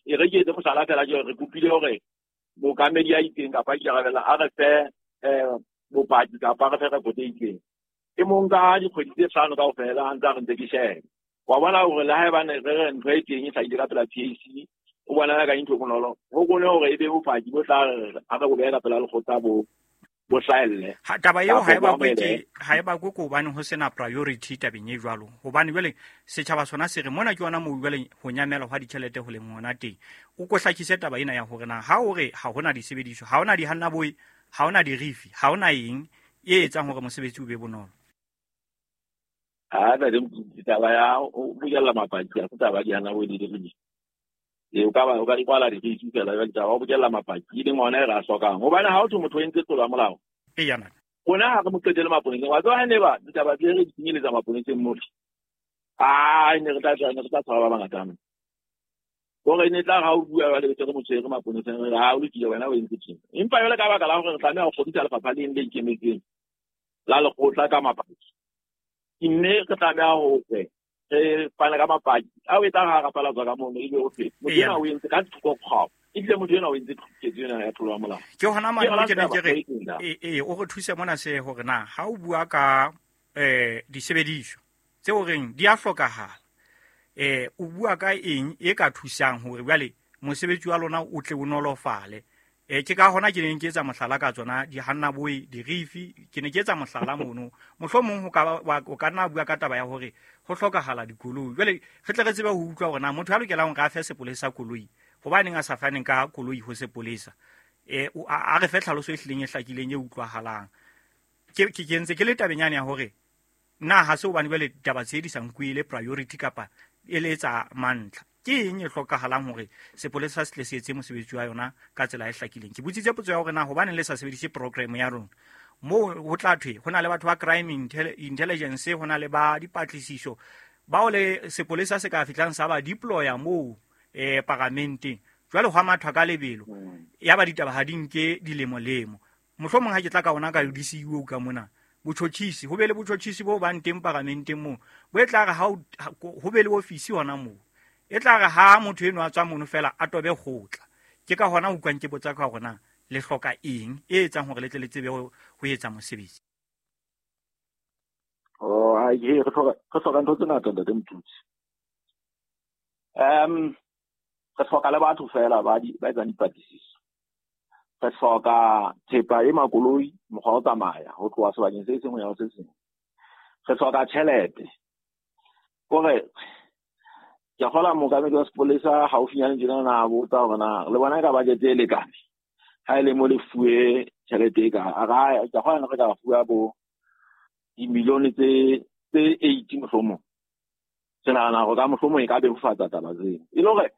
E re ke etse mohlala fela ke re kopile hore mookamedi a itseng kapa a ikarabella a re fe bopaki kapa a re fe rekoto e itseng. E mong ka dikgwedi tse hlano kaofela a ntse a re ntse ke shebe. Wa bona hore le haebane re re ntho e teng e hlahile ka pela PAC, o bona ka ntho e bonolo. Ho kgone hore e be bopaki bo tla re ha re bo beha ka pela lekgotla bo bo hlahelle. Ha taba eo Kapa ha e bo bakwe ke amohelehe. ha e bakwe ke hobane ho sena priority tabeng e jwalo. Hobane jwale setjhaba sona se re mona ke yona moo jwale ho nyamela hwa ditjhelete ho leng hona teng. O ko hlakise taba ena ya hore na ha o re ha hona disebediswa, ha hona dihannaboe, ha hona dirifi, ha hona eng e etsang hore mosebetsi o be bonolo. Ha ntate Motutsi, taba ya ho bokella mapaki ha se taba ya dihannaboe le dirifi. Ee, o ka ba o ka di kwala dirifi fela jwale taba ya ho bokella mapaki e leng ona e re a hlokang. Hobane ha o thwe motho o entse tlolo ya molao, Eya ntate. rona ha re mo qetele maponeseng. Wa tseba ha ne ba ditaba tse re di kenyeletsa maponeseng mole, ah, ne re tla ne re tla tshwara ba bangata hampe. Hore ne tla ha o bua jwale be se re mo tshwere maponeseng, re re ha o lokile wena o entse tjena. Empa jwale ka baka la hore re tlameha ho kgodisa lefapha leng le ikemetseng la lekgotla ka mapaki, mme re tlameha hore re fane ka mapaki ao e tla ha rapalatswa ka mono ebe o thwe motho Eya. ena o entse ka thoko kgwao, ebile motho ena o entse ketso ena ya tlolo ya molao. Ke hona Ke mane yona mo ke neng taba ke re e teng da. e o re thuse mona se hore na ha o bua ka disebediswa tse o reng di a hlokahala, o bua ka eng e ka thusang hore jwale mosebetsi wa lona o tle o nolofale. Ke ka hona ke neng ke etsa mohlala ka tsona dihannaboe, dirifi, ke ne ke etsa mohlala mono. Mohlomong ho ka ba, wa, o ka nna bua ka taba ya hore ho hlokahala dikoloi. Jwale re tle re tsebe ho utlwa hore na motho ya lokelang hore a fe sepolesa koloi, hobaneng a sa faneng ka koloi ho sepolesa. A re fe tlhaloso e hlileng e hlakileng e utlwahalang. Ke ntse ke le tabeng yane ya hore na ha se hobane jwale ditaba tse di sa nkuwe e le priority kapa e le tsa mantlha. Ke eng e hlokahalang hore sepolesa se tle se etse mosebetsi wa yona ka tsela e hlakileng? Ke botsitse potso ya hore na hobaneng le sa sebedise program ya rona. Moo ho tla thwe ho na le batho ba crime intelligence, ho na le ba dipatlisiso bao le sepolesa se ka fihlang sa ba deploya moo paramenteng. Jwale hwa mathwa ka lebelo, ya ba ditaba ha di nke dilemo-lemo. Mohlomong ha ke tla ka ona ka DCEO ka mona, botjhotjhisi, ho be le botjhotjhisi bo bang teng paramenteng moo, bo e tla re ha o, ha, ho be le ofisi hona moo. E tla re ha motho eno a tswa mono fela a tobe kgotla. Ke ka hona ho utlwang ke botsa ka hore na le hloka eng e etsang hore le tle le tsebe ho etsa mosebetsi. Oh, ai, he, re hloka ntho tse ngata, ntate Motutsi. Re hloka le batho fela ba etsang dipatlisiso. Re hloka thepa e makoloi, mokgwa wa ho tsamaya ho tloha sebakeng se seng ho ya ho se seng. Re hloka tjhelete. Kore ke kgola mookamedi wa sepolesa haufinyane tjena na botsa hore na le bona e ka budget e lekane. Ha e le mo le fuwe tjhelete e ka, a ra, ke kgola re ka fuwa bo dimilione tse 80 mohlomong. Ke nahana hore ka mohlomong e ka bebofatsa taba tseo. E le hore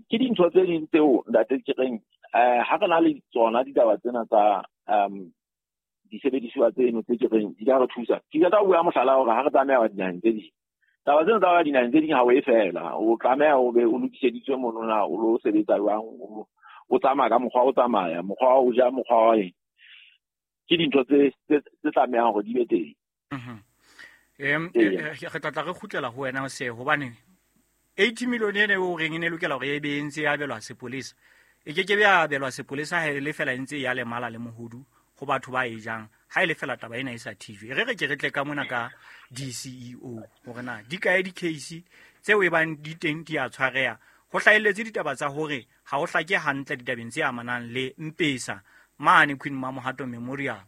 ke dintho tse ding tseo ntate ke reng, ha re na le tsona ditaba tsena tsa, disebediswa tseno tse ke reng di ka re thusa. Ke tla bua mohlala hore ha re tlameha wa dinaheng tse ding. Taba tseno tsa wa dinaheng tse ding ha o e fela, o tlameha o be o lokiseditswe mono na o lo sebetsa jwang, o tsamaya ka mokgwa o tsamaya, mokgwa wa ho ja, mokgwa wa eng. Ke dintho tse tlamehang hore di be teng. Eya. Re tla tla re kgutlela ho wena se, hobane 80 million ene o reng e ne lokela hore e be e ntse e abelwa sepolesa. E ke ke be ya abelwa sepolesa ha e le fela e ntse ya lemala le mohodu ho batho ba e jang. Ha e le fela taba ena e sa thijwe. Re re ke re tle ka mona ka DCEO hore na di kae di-case tseo e bang di teng di a tshwareha. Ho hlahelletse ditaba tsa hore ha ho hlake hantle ditabeng tse amanang le Mpesa mane Queen Mamohato Memorial.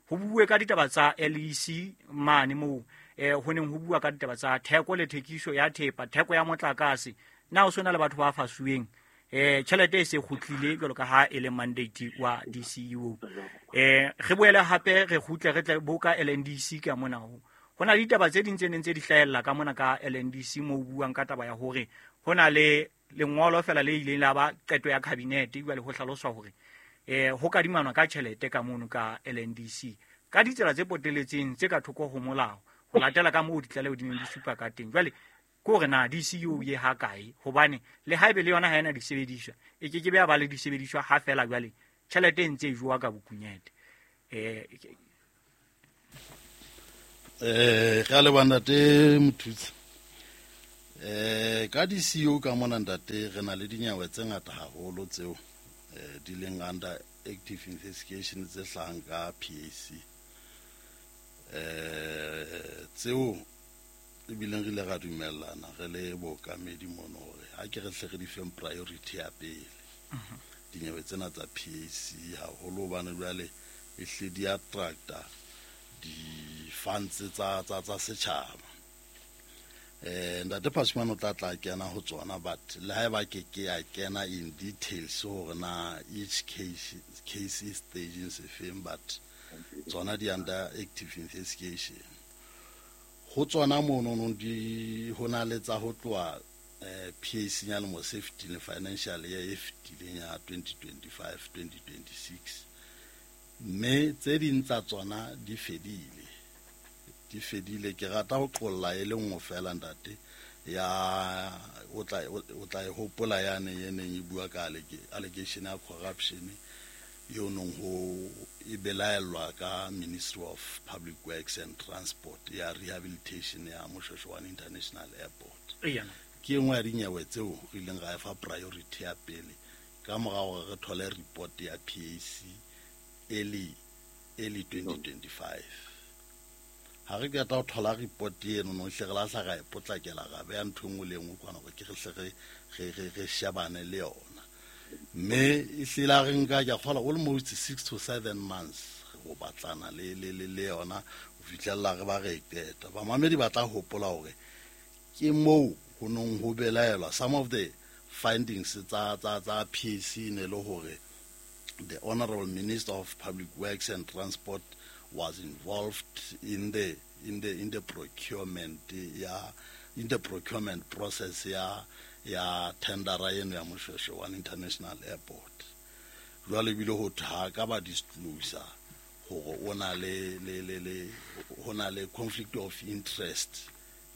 Ho bue ka ditaba tsa LEC mane moo, ho neng ho bua ka ditaba tsa theko le thekiso ya thepa, theko ya motlakase. Na ho sona le batho ba fasuweng? Tjhelete e se kgutlile jwalo ka ha e le mandate wa DCEO. Re boele hape re kgutle re tle bo ka LNDC ka mona ho. Ho na le ditaba tse ding tse neng tse di hlahella ka mona ka LNDC moo ho buang ka taba ya hore ho na le lengolo fela le ileng la ba qeto ya cabinet, jwale ho hlaloswa hore, ho kadimanwa ka tjhelete ka mono ka LNDC ka ditsela tse poteletseng tse ka thoko ho molao ho latela ka moo ditlaleho di neng di supa ka teng. Jwale ke hore na DCEO ye ha kae, hobane le haebe le yona ha ena disebediswa, e ke ke be ya ba le disebediswa ha fela jwale tjhelete e ntse e jowa ka bokunyete. Re a leboha ntate Mothusi. Ka di-CEO ka mona ntate re na le dinyewe tse ngata haholo tseo di leng under active investigation tse hlahang ka PAC. Tseo ebileng re ile ra dumellana re le bookamedi mono hore ha ke re hle re di feng priority ya pele. Dinyewe tsena tsa PAC haholo hobane jwale e hle di attracta di-funds tsa setjhaba. Ntate Phasumane o tla kena ho tsona, but le haeba ke ke ya kena in details hore na each case is staging sefeng, but tsona di under active investigation. Ho tsona mono no di ho na le tsa ho tloha PAC ya lemo se fetileng, financial year e fetileng ya 2025 2026, mme tse ding tsa tsona di fedile. Ke rata ho qolla e le nngwe fela ntate, ya o tla e hopola yane e neng e bua ka allegation ya corruption eo nong ho e belaellwa ka Ministry of Public Works and Transport ya rehabilitation ya Moshoeshoe International Airport. Ke nngwe ya dinyewe tseo re ileng ra e fa priority ya pele ka mora hore re thole report ya PAC early 2025. Ha re qeta ho thola report eno no hle re lahla ra e potlakela ra beha ntho e nngwe le e nngwe kwana hore ke re hle re shebane le yona. Mme e hlile re nka ke a kgolwa almost 6 to 7 months go batlana le yona ho fihlella re ba re qeta. Bamamedi ba tla hopola hore ke moo ho nong ho belaelwa some of the findings tsa PAC ne le hore the Honorable Minister of Public Works and Transport was involved in the procurement in the procurement process ya tendera eno ya Moshoeshoe International Airport. Jwale bile ho tha ka ba disclosure hore o na le ho na le conflict of interest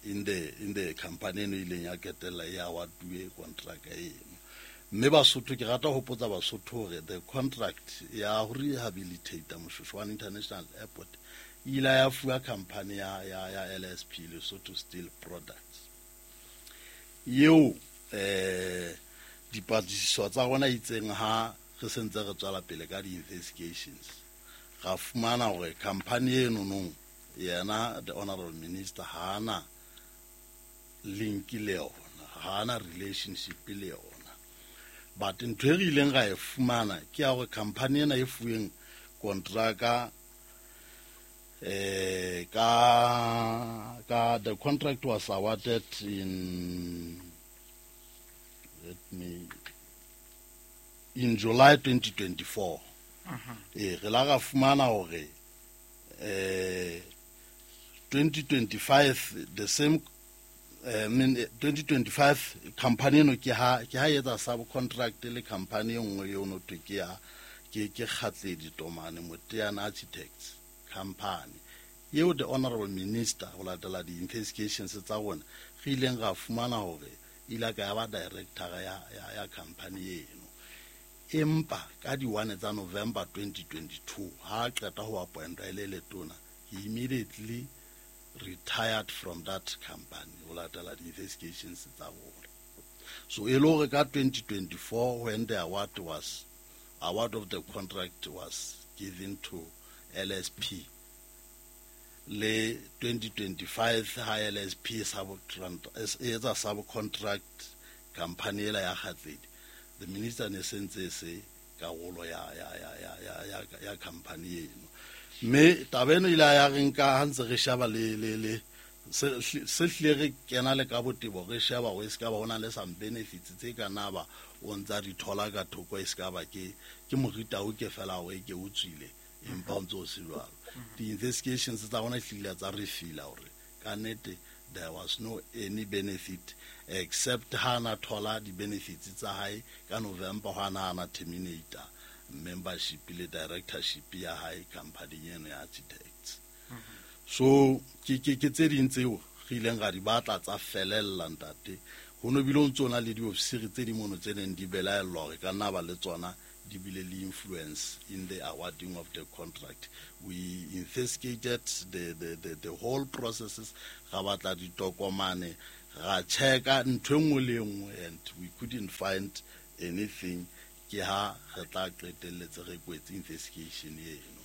in the company eno ileng ya ketella ya awarduwe contract eno. Mme Basotho ke rata ho potsa Basotho hore the contract ya ho rehabilitate Moshoeshoe International Airport ile ya fuwa company ya LSP, Lesotho Steel Products. Eo dipatlisiso tsa rona itseng ha re sentse re tswela pele ka di-investigations, ra fumana hore company eno nong yena the Honorable Minister ha ana link le yona, ha ana relationship le yona. But ntho e re ileng ra e fumana ke ya hore company ena e fuweng kontraka ka the contract was awarded in July 2024. Re la ra fumana hore 2025 the same 2025 company eno ke ha etsa subcontract le company e nngwe eo no thwe ke ya ke Kgatledi Tomane Moteana Architects company eo the Honorable Minister ho latela di-investigations tsa rona re ileng ra fumana hore ile ka ya ba director ya company eno. Empa ka di-1 tsa November 2022 ha qeta ho appointwa e le letona, he immediately retired from that company ho latela di-investigations tsa rona. So e le hore ka 2024 when the award of the contract was given to LSP, le 2025 ha LSP etsa subcontract company ela ya Kgatledi, the minister ne sentse se karolo ya company eno. Mme taba eno ile ya re nka ha ntse re sheba le se hlile re kena le ka botebo re sheba hore e se ka ba ho na le some benefits tse ka na ba o ntsa di thola ka thoko, e se ka ba ke moritao ke fela hore ke o tswile empa o ntse o se jwalo. Di-investigations tsa rona hlile tsa re fila hore ka nnete there was no any benefit except ha na thola di-benefits tsa hae ka November ha na terminator membership le directorship ya hae company eno ya architects. So ke tse ding tseo re ileng ra di batla tsa felella ntate. Ho no bile o ntso na le diofisiri tse di mono tse neng di belaellwa hore ka nna ba le tsona di bile le influence in the awarding of the contract. We investigated the whole processes, ra batla ditokomane, Ra checka ntho e nngwe le e nngwe and we couldn't find anything. Ke ha re tla qetelletse re kwetse investigation eno,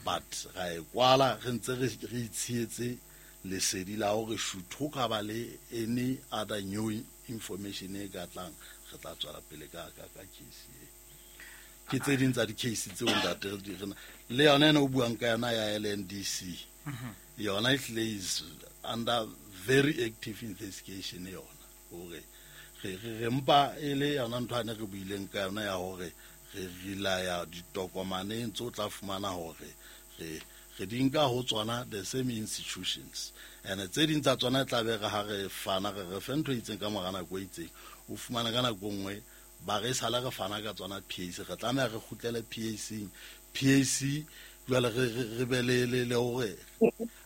but ra e kwala re ntse re itshietse lesedi la hore should ho ka ba le any other new information e ka tlang, re tla tswela pele ka case e. Ke tse ding tsa di-case tseo ntate re le yona ena o buang ka yona ya LNDC, yona ehlile is under very active investigation yona, hore re mpa e le yona ntho ane re buileng ka yona ya hore re relaya ditokomaneng tse o tla fumana hore re di nka ho tsona the same institutions, and tse ding tsa tsona e tla be re ha re fana re fe ntho e itseng ka mora nako e itseng, o fumane ka nako nngwe ba re sala re fana ka tsona PAC, re tlameha re kgutlele PAC. PAC jwale re be le hore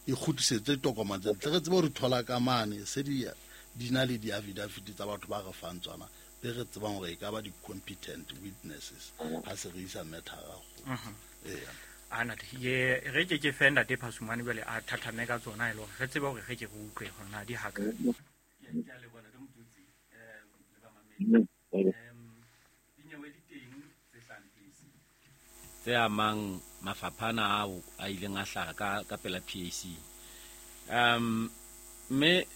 e kgutlisetse tokomane tse ntle, re tsebe hore thola ka mane se di na le di-affidavit tsa batho ba re fang tsona, be re tsebang hore e ka ba di-competent witnesses ha se re isa matter-a go. Anate ye re ke fe ntate Phasumane jwale a thathame ka tsona e le hore re tsebe hore re ke re utlwe hore na di haka. Ke a leboha Ntate Motutsi, le bamamedi. Dinyewe di teng tse hlahang PAC tse amang mafapha ana ao a ileng a hlaha ka pela PAC. Mme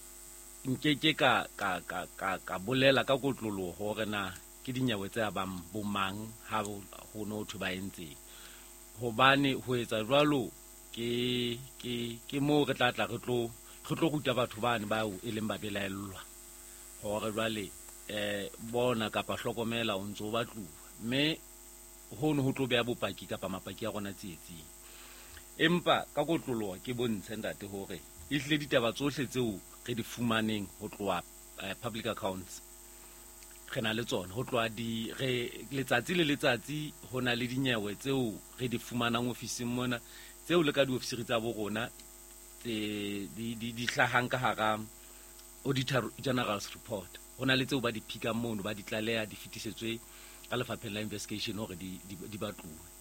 nke ka bolela ka kotloloho hore na ke dinyewe tse abang bomang ha ho no thwe ba entseng, hobane ho etsa jwalo ke moo re tla tla re tlo ruta batho bane bao e leng ba belaellwa hore jwale bona kapa hlokomela o ntso ba tluwa, mme hono ho tlo beha bopaki kapa mapaki a rona tsietsing. Empa ka kotloloho ke bontshe ntate hore ehlile ditaba tsohle tseo re di fumaneng ho tloha public accounts re na le tsona, ho tloha letsatsi le letsatsi ho na le dinyewe tseo re di fumanang ofising mona, tseo le ka diofisiri tsa bo rona tse di hlahang ka hara Auditor General's report. Ho na le tseo ba di phikang mono, ba di tlaleha, di fetisetswe ka lefapheng la investigation hore di batluwe.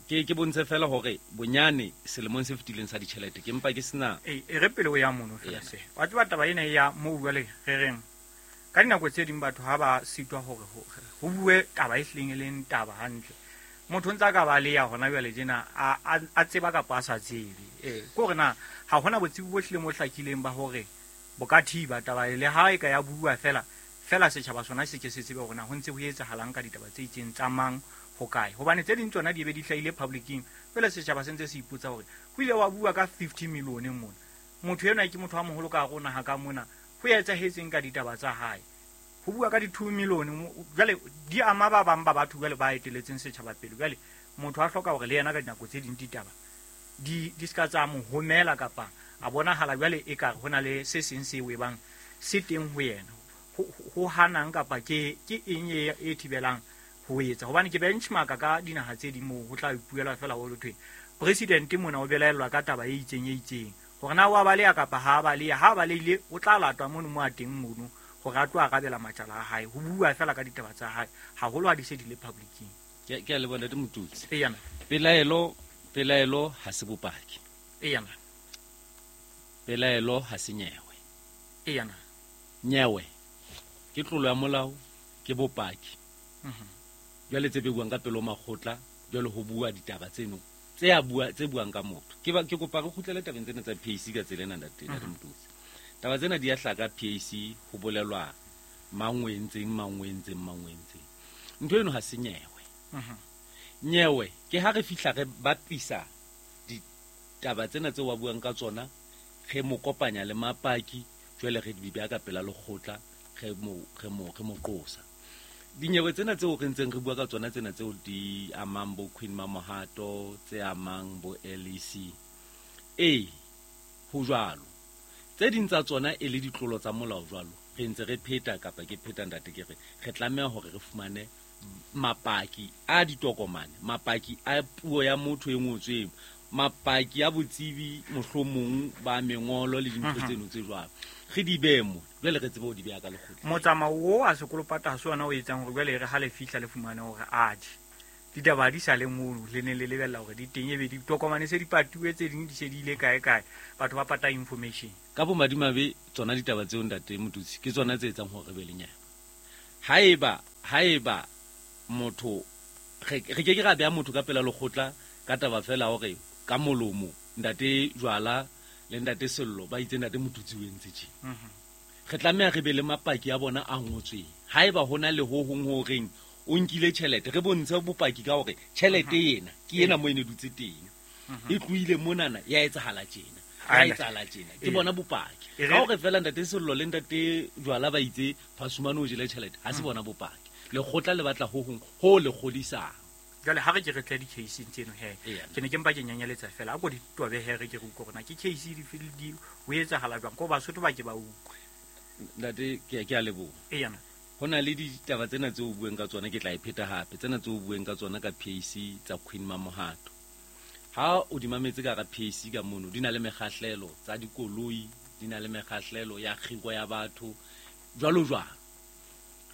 Ke bontshe fela hore bonyane selemong se fetileng sa ditjhelete ke mpa ke sena. E re pele o ya mono fela se. Wa tseba taba ena ya moo jwale re reng ka dinako tse ding batho ha ba sitwa hore ho bue taba e hlileng e leng taba hantle. Motho ntsa ka ba le ya hona jwale tjena a tseba kapa a sa tsebe. Ke hore na ha hona botsebi bo hlileng bo hlakileng ba hore bo ka thiba taba le ha e ka ya bua fela fela setjhaba sona se ke se tsebe hore na ho ntse ho etsahalang ka ditaba tse itseng tsa mang ho kae, hobane tse ding tsona di be di hlahile publicing, jwale setjhaba se ntse se ipotsa hore ho ile wa bua ka 50 million mona, motho enwa ke motho a moholo ka rona ha ka mona, ho etsahetseng ka ditaba tsa hae, ho bua ka di 2 million jwale di ama ba bang ba batho jwale ba eteletseng setjhaba pele. Jwale motho a hloka hore le yena ka dinako tse ding ditaba di ska tsa mo homela kapa a bonahala jwale e ka ho na le se seng se webang se teng ho yena ho hanang kapa ke eng e thibelang ho etsa, hobane ke benchmark ka dinaha tse ding moo ho tla ipuela fela ho thwe president mona o belaellwa ka taba e itseng e itseng, hore na wa baleha kapa ha baleha, ha balehile o tla latwa mono mo a teng mono hore a tlo arabela matjala a hae, ho bua fela ka ditaba tsa hae haholo ha di se di le publicing. Ke a leboha Ntate Motutsi. Eyana. Pelaelo ha se bopaki. Eyana. Pelaelo ha se nyewe. Eyana. Nyewe ke tlolo ya molao, ke bopaki. Jwale tse buang ka pelo makgotla, jwale ho bua ditaba tseno tse a bua tse buang ka motho. Ke kopa re kgutlele tabeng tsena tsa PAC ka tsela ena Ntate Motutsi. Taba tsena di a hlaka PAC ho bolelwa mang o entseng, mang o entseng, mang o entseng. Ntho eno ha se nyewe. Nyewe ke ha re fihla re bapisa ditaba tsena tse wa buang ka tsona, re mo kopanya le mapaki, jwale re di beha ka pela lekgotla, re mo qosa. Dinyewe tsena tseo re ntseng re bua ka tsona tsena tseo di amang bo Queen Mamohato, tse amang bo LEC, ho jwalo. Tse ding tsa tsona e le ditlolo tsa molao jwalo, re ntse re pheta kapa ke pheta ntate ke re re tlameha hore re fumane mapaki a ditokomane, mapaki a puo ya motho e ngotsweng, mapaki a botsebi mohlomong ba mengolo le dintho tseno tse jwalo, re di behe mo jwale re tsebe ho di beha ka lekgotla. Motsamao o a sekolopata ha se ona o etsang hore jwale re ha le fihla le fumane hore a je. Ditaba di sa le mono le ne le lebella hore di teng ebe ditokomane se di patuwe tse ding di se di ile kae kae, batho ba pata information. Ka bomadimabe tsona ditaba tseo ntate Motutsi ke tsona tse etsang hore re be le nyewe. Haeba motho re ke ke ra beha motho ka pela lekgotla ka taba fela hore ka molomo ntate Jwala le ntate Sello ba itse ntate Motutsi o entse tje. Re tlameha re be le mapaki a bona a ngotsweng. Haeba hona le ho hong ho reng o nkile tjhelete, re bontshe bopaki ka hore tjhelete ena ke ena mo e ne dutse teng. E tlohile monana ya etsahala tjena. Ya etsahala tjena. Ke bona bopaki. Ka hore fela ntate Sello le ntate Jwala ba itse Phasumane o jele tjhelete, ha se bona bopaki. Lekgotla le batla ho hong ho le kgodisang. Jwale ha re ke re tle di-case tseno he. Ke ne ke mpa ke nyanyeletsa fela. A ko di tobe he re ke re utlwe hore na ke case di di ho etsahala jwang, ko Basotho ba ke ba utlwe. Ntate ke a leboha. Eya. Ho na le ditaba tsena tseo o bueng ka tsona, ke tla e pheta hape. Tsena tseo o bueng ka tsona ka PAC tsa Queen Mamohato. Ha o di mametse ka hara PAC ka mono, di na le mekgahlelo tsa dikoloi, di na le mekgahlelo ya kgiro ya batho, jwalo jwalo.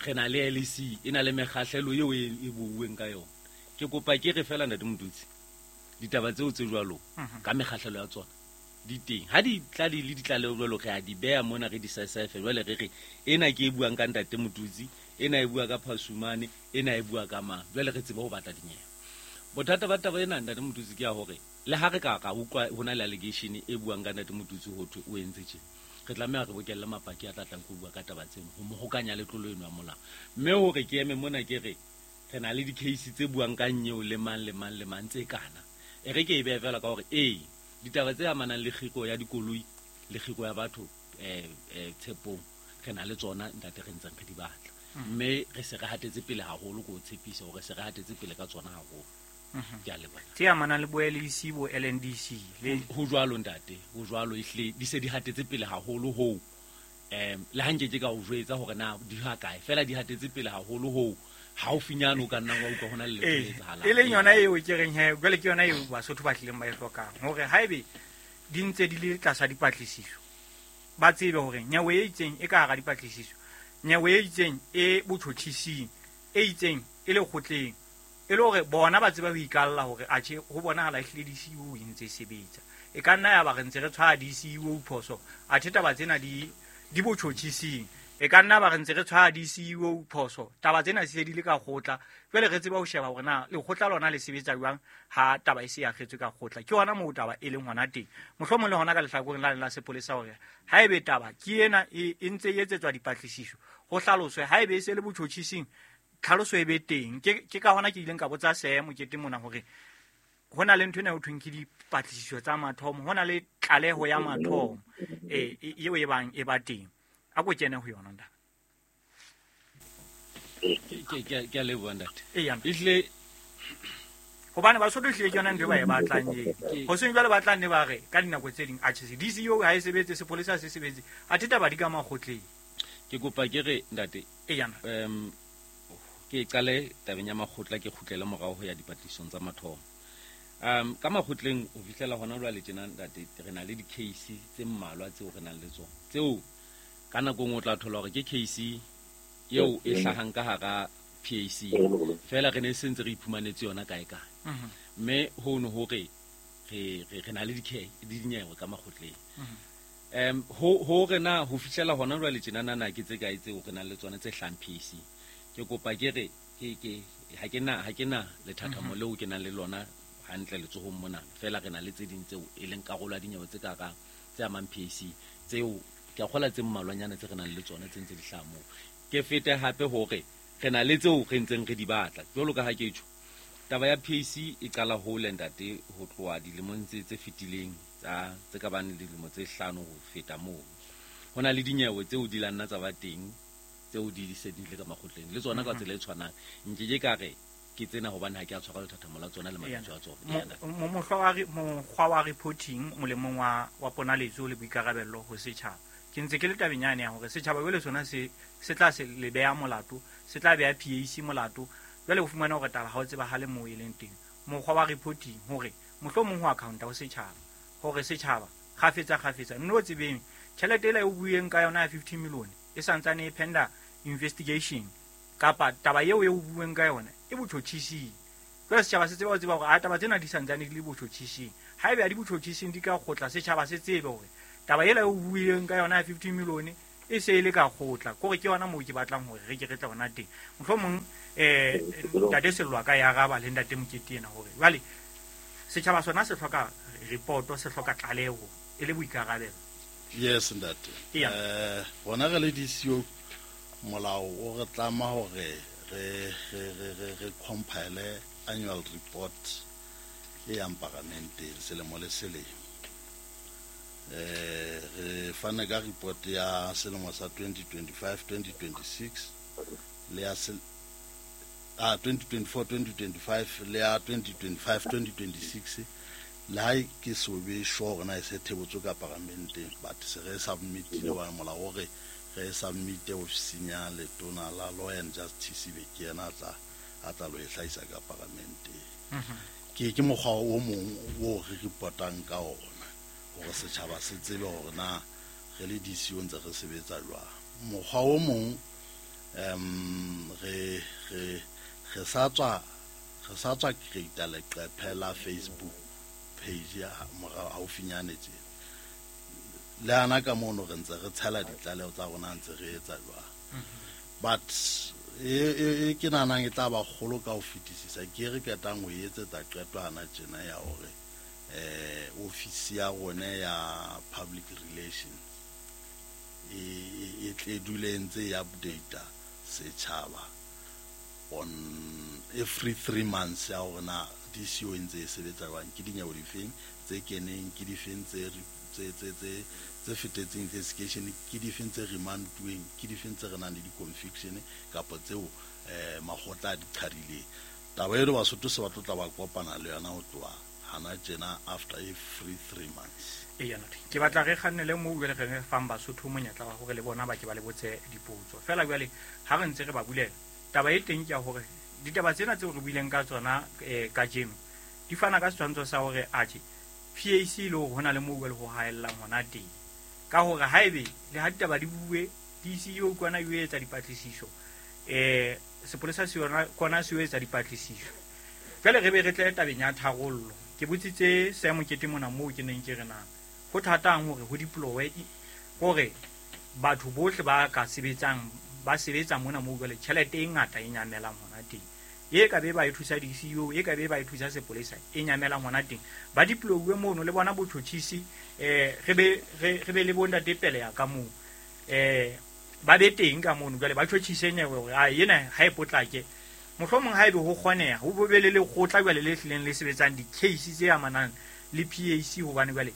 Re na le LEC, e na le mekgahlelo eo e buuweng ka yona. Ke kopa ke re fela ntate Motutsi, ditaba tseo tse jwalo ka mekgahlelo ya tsona di teng. Ha di tla di le ditlaleho jwalo, re a di beha mona re di saesaefe. Jwale re re ena ke e buang ka ntate Motutsi, ena e bua ka Phasumane, ena e bua ka mang. Jwale re tsebe ho batla dinyewe. Bothata ba taba ena ntate Motutsi ke ya hore le ha re ka ra utlwa ho na le allegation e buang ka ntate Motutsi ho thwe o entse tjena, re tlameha re bokelle mapaki a tla tlang ho bua ka taba tseno ho mo hokanya le tlolo eno ya molao. Mme hore ke eme mona ke re re na le di-case tse buang ka nyeo le mang le mang le mang tse kana. E re ke e behe fela ka hore ee, ditaba tse amanang le kgiro ya dikoloi le kgiro ya batho tshepong re na le tsona ntate, re ntseng re di batla. Mme re se re hatetse pele haholo, ko tshepisa hore se re hatetse pele ka tsona haholo. Ke a leboha. Tse amanang le bo LEC, bo LNDC le ho jwalo ntate, ho jwalo ehlile di se di hatetse pele haholo hoo. Le ha nke ke ka o jwetsa hore na di ha kae, fela di hatetse pele haholo hoo. Haufinyane o ka nna wa utlwa hona le letho le etsahalang. E leng yona eo ke reng he, jwale ke yona eo Basotho ba tlileng ba e hlokang, hore haebe di ntse di le tlasa dipatlisiso, ba tsebe hore nyewe e itseng e ka hara dipatlisiso, nyewe e itseng e botjhotjhising, e itseng e lekgotleng, e le hore bona ba tsebe ho ikalla hore atjhe ho bonahala ehlile DCEO e ntse e sebetsa. E ka nna ya ba re ntse re tshwaya DCEO phoso, athe taba tsena di botjhotjhising. E ka nna ba re ntse re tshwaya DCEO phoso, taba tsena se di le ka kgotla. Jwale re tseba ho sheba hore na lekgotla lona le sebetsa jwang ha taba e se ya kgetswe ka kgotla. Ke hona moo taba e leng hona teng. Mohlomong le hona ka lehlakoreng la sepolesa hore haebe taba ke ena e ntse e etsetswa dipatlisiso, ho hlaloswe haebe e se le botjhotjhising, tlhaloso e be teng. Ke ka hona ke ileng ka botsa Sam Mokete mona hore ho na le ntho ena ho thweng ke dipatlisiso tsa mathomo, ho na le tlaleho ya mathomo eo e bang e ba teng. A ko kene ho yona ntate. Ke a leboha ntate. Eya. Ehlile hobane Basotho ehlile ke yona ntho e ba e batlang eo. Hoseng jwale ba tla nne ba re ka dinako tse ding atjhe DCEO ha e sebetse, sepolesa se sebetse, athe taba di ka makgotleng. Ke kopa ke re ntate. Eya. Ke qale tabeng ya makgotla, ke kgutlele morao ho ya dipatlisong tsa mathomo. Ka makgotleng ho fihlela hona jwale tjena ntate, re na le di-case tse mmalwa tseo re nang le tsona, tseo ka nako nngwe o tla thola hore ke case eo e hlahang ka hara PAC, fela re ne se ntse re iphumanetse yona kae kae. Mme hono hore re na le dinyewe ka makgotleng. Ho re na ho fihlela hona jwale tjena na ke tse kae tseo re nang le tsona tse hlahang PAC. Ke kopa ke re ke ha ke na lethathamo leo ke nang le lona hantle letsohong mona, fela re na le tse ding tseo e leng karolo ya dinyewe tse ka hara tse amang PAC, tseo ke a kgola tse mmalwanyana tse re nang le tsona tse ntse di hlaha moo. Ke fete hape hore re na le tseo re ntseng re di batla. Jwalo ka ha ke tjho, taba ya PAC e qala hole ntate, ho tloha dilemong tse fetileng tsa tse ka bang dilemo tse 5 ho feta moo. Ho na le dinyewe tseo di la nna tsa ba teng, tseo di se di le ka makgotleng le tsona ka tsela e tshwanang. Nke ke ka re ke tsena hobane ha ke a tshwara lethathamo la tsona le mabitso a tsona. Mokgwa wa reporting molemong wa ponaletso le boikarabello ho setjhaba. Ke ntse ke le tabeng yane ya hore setjhaba jwale sona se tla se le beha molato, se tla beha PAC molato. Jwale o fumana hore taba ha o tsebahale moo e leng teng. Mokgwa wa reporting hore mohlomong ho accounta ho setjhaba, hore setjhaba kgafetsa kgafetsa nno o tsebeng tjhelete ela e o bueng ka yona ya 50 million e santsane e penda investigation, kapa taba eo e o bueng ka yona e botjhotjhising. Jwale setjhaba se tseba ho tseba hore a taba tsena di santsane di le botjhotjhising. Haebe a di botjhotjhising di ka kgotla, setjhaba se tsebe hore taba ela o buileng ka yona ya 50 million e se e le ka kgotla. Kore ke yona moo ke batlang hore re ke re tle hona teng. Mohlomong ntate Sello a ka ya araba le ntate Mokete ena hore jwale setjhaba sona se hloka report, se hloka tlaleho e le boikarabelo. Yes ntate. Rona re le DCO molao o re tlama hore re compile annual report e yang paramenteng selemo le selemo. Re fane ka report ya selemo sa 2025 2026 le ya 2024 2025 le ya 2025 2026. Le ha ke so be sure na e se thebotswe ka paramenteng, but se re submitile wa molao hore re submite ofising ya letona la Law and Justice be ke yena a tla lo e hlahisa ka paramenteng. Ke mokgwa o mong o re reportang ka ona hore setjhaba se tsebe hore na re le DCO ntse re sebetsa jwang. Mokgwa o mong re sa tswa create leqephe la Facebook page ya morao haufinyane tjena. Le ana ka mono re ntse re tshela ditlaleho tsa rona ntse re etsa jwang. But e ke nahanang e tla ba kgolo ka ho fetisisa ke re qetang ho etsetsa qeto hana tjena ya hore ofisi ya rona ya public relations e tle dule ntse e update setjhaba on every 3 months ya hore na DCO ntse e sebetsa jwang, ke dinyewe difeng tse keneng, ke difeng tse fetetseng investigation, ke difeng tse remantuweng, ke difeng tse re nang le di-conviction kapa tseo makgotla a di qhadileng. Taba eno Basotho se ba tlo tla ba kopana le yona ho tloha hana tjena after every 3 months. Eya ntate, ke batla re kgannele moo jwale re fang Basotho monyetla wa hore le bona ba ke ba le botse dipotso. Feela jwale ha re ntse re ba bulela, taba e teng ke ya hore ditaba tsena tseo re buileng ka tsona kajeno di fana ka setshwantsho sa hore atjhe PAC le hore hona le moo jwale ho haellang hona teng. Ka hore haebe le ha ditaba di bue, DCO kwana e etsa dipatlisiso, sepolesa se yona kwana se etsa dipatlisiso. Jwale re be re tle tabeng ya tharollo. Ke botsitse Sam Mokete mona moo ke neng ke re na ho thatang hore ho deploy hore batho bohle ba ka sebetsang ba sebetsa mona moo jwale tjhelete e ngata e nyamelang hona teng. E ka be ba e thusa DCO, e ka be ba e thusa sepolesa e nyamelang hona teng. Ba deploywe mono le bona botjhotjhisi, re be le bontate pele ya ka moo. Ba be teng ka mono jwale ba tjhotjhise nyewe hore a ena ha e potlake. Mohlomong haebe ho kgoneha ho bo be le lekgotla jwale le hlileng le sebetsang di-case tse amanang le PAC, hobane jwale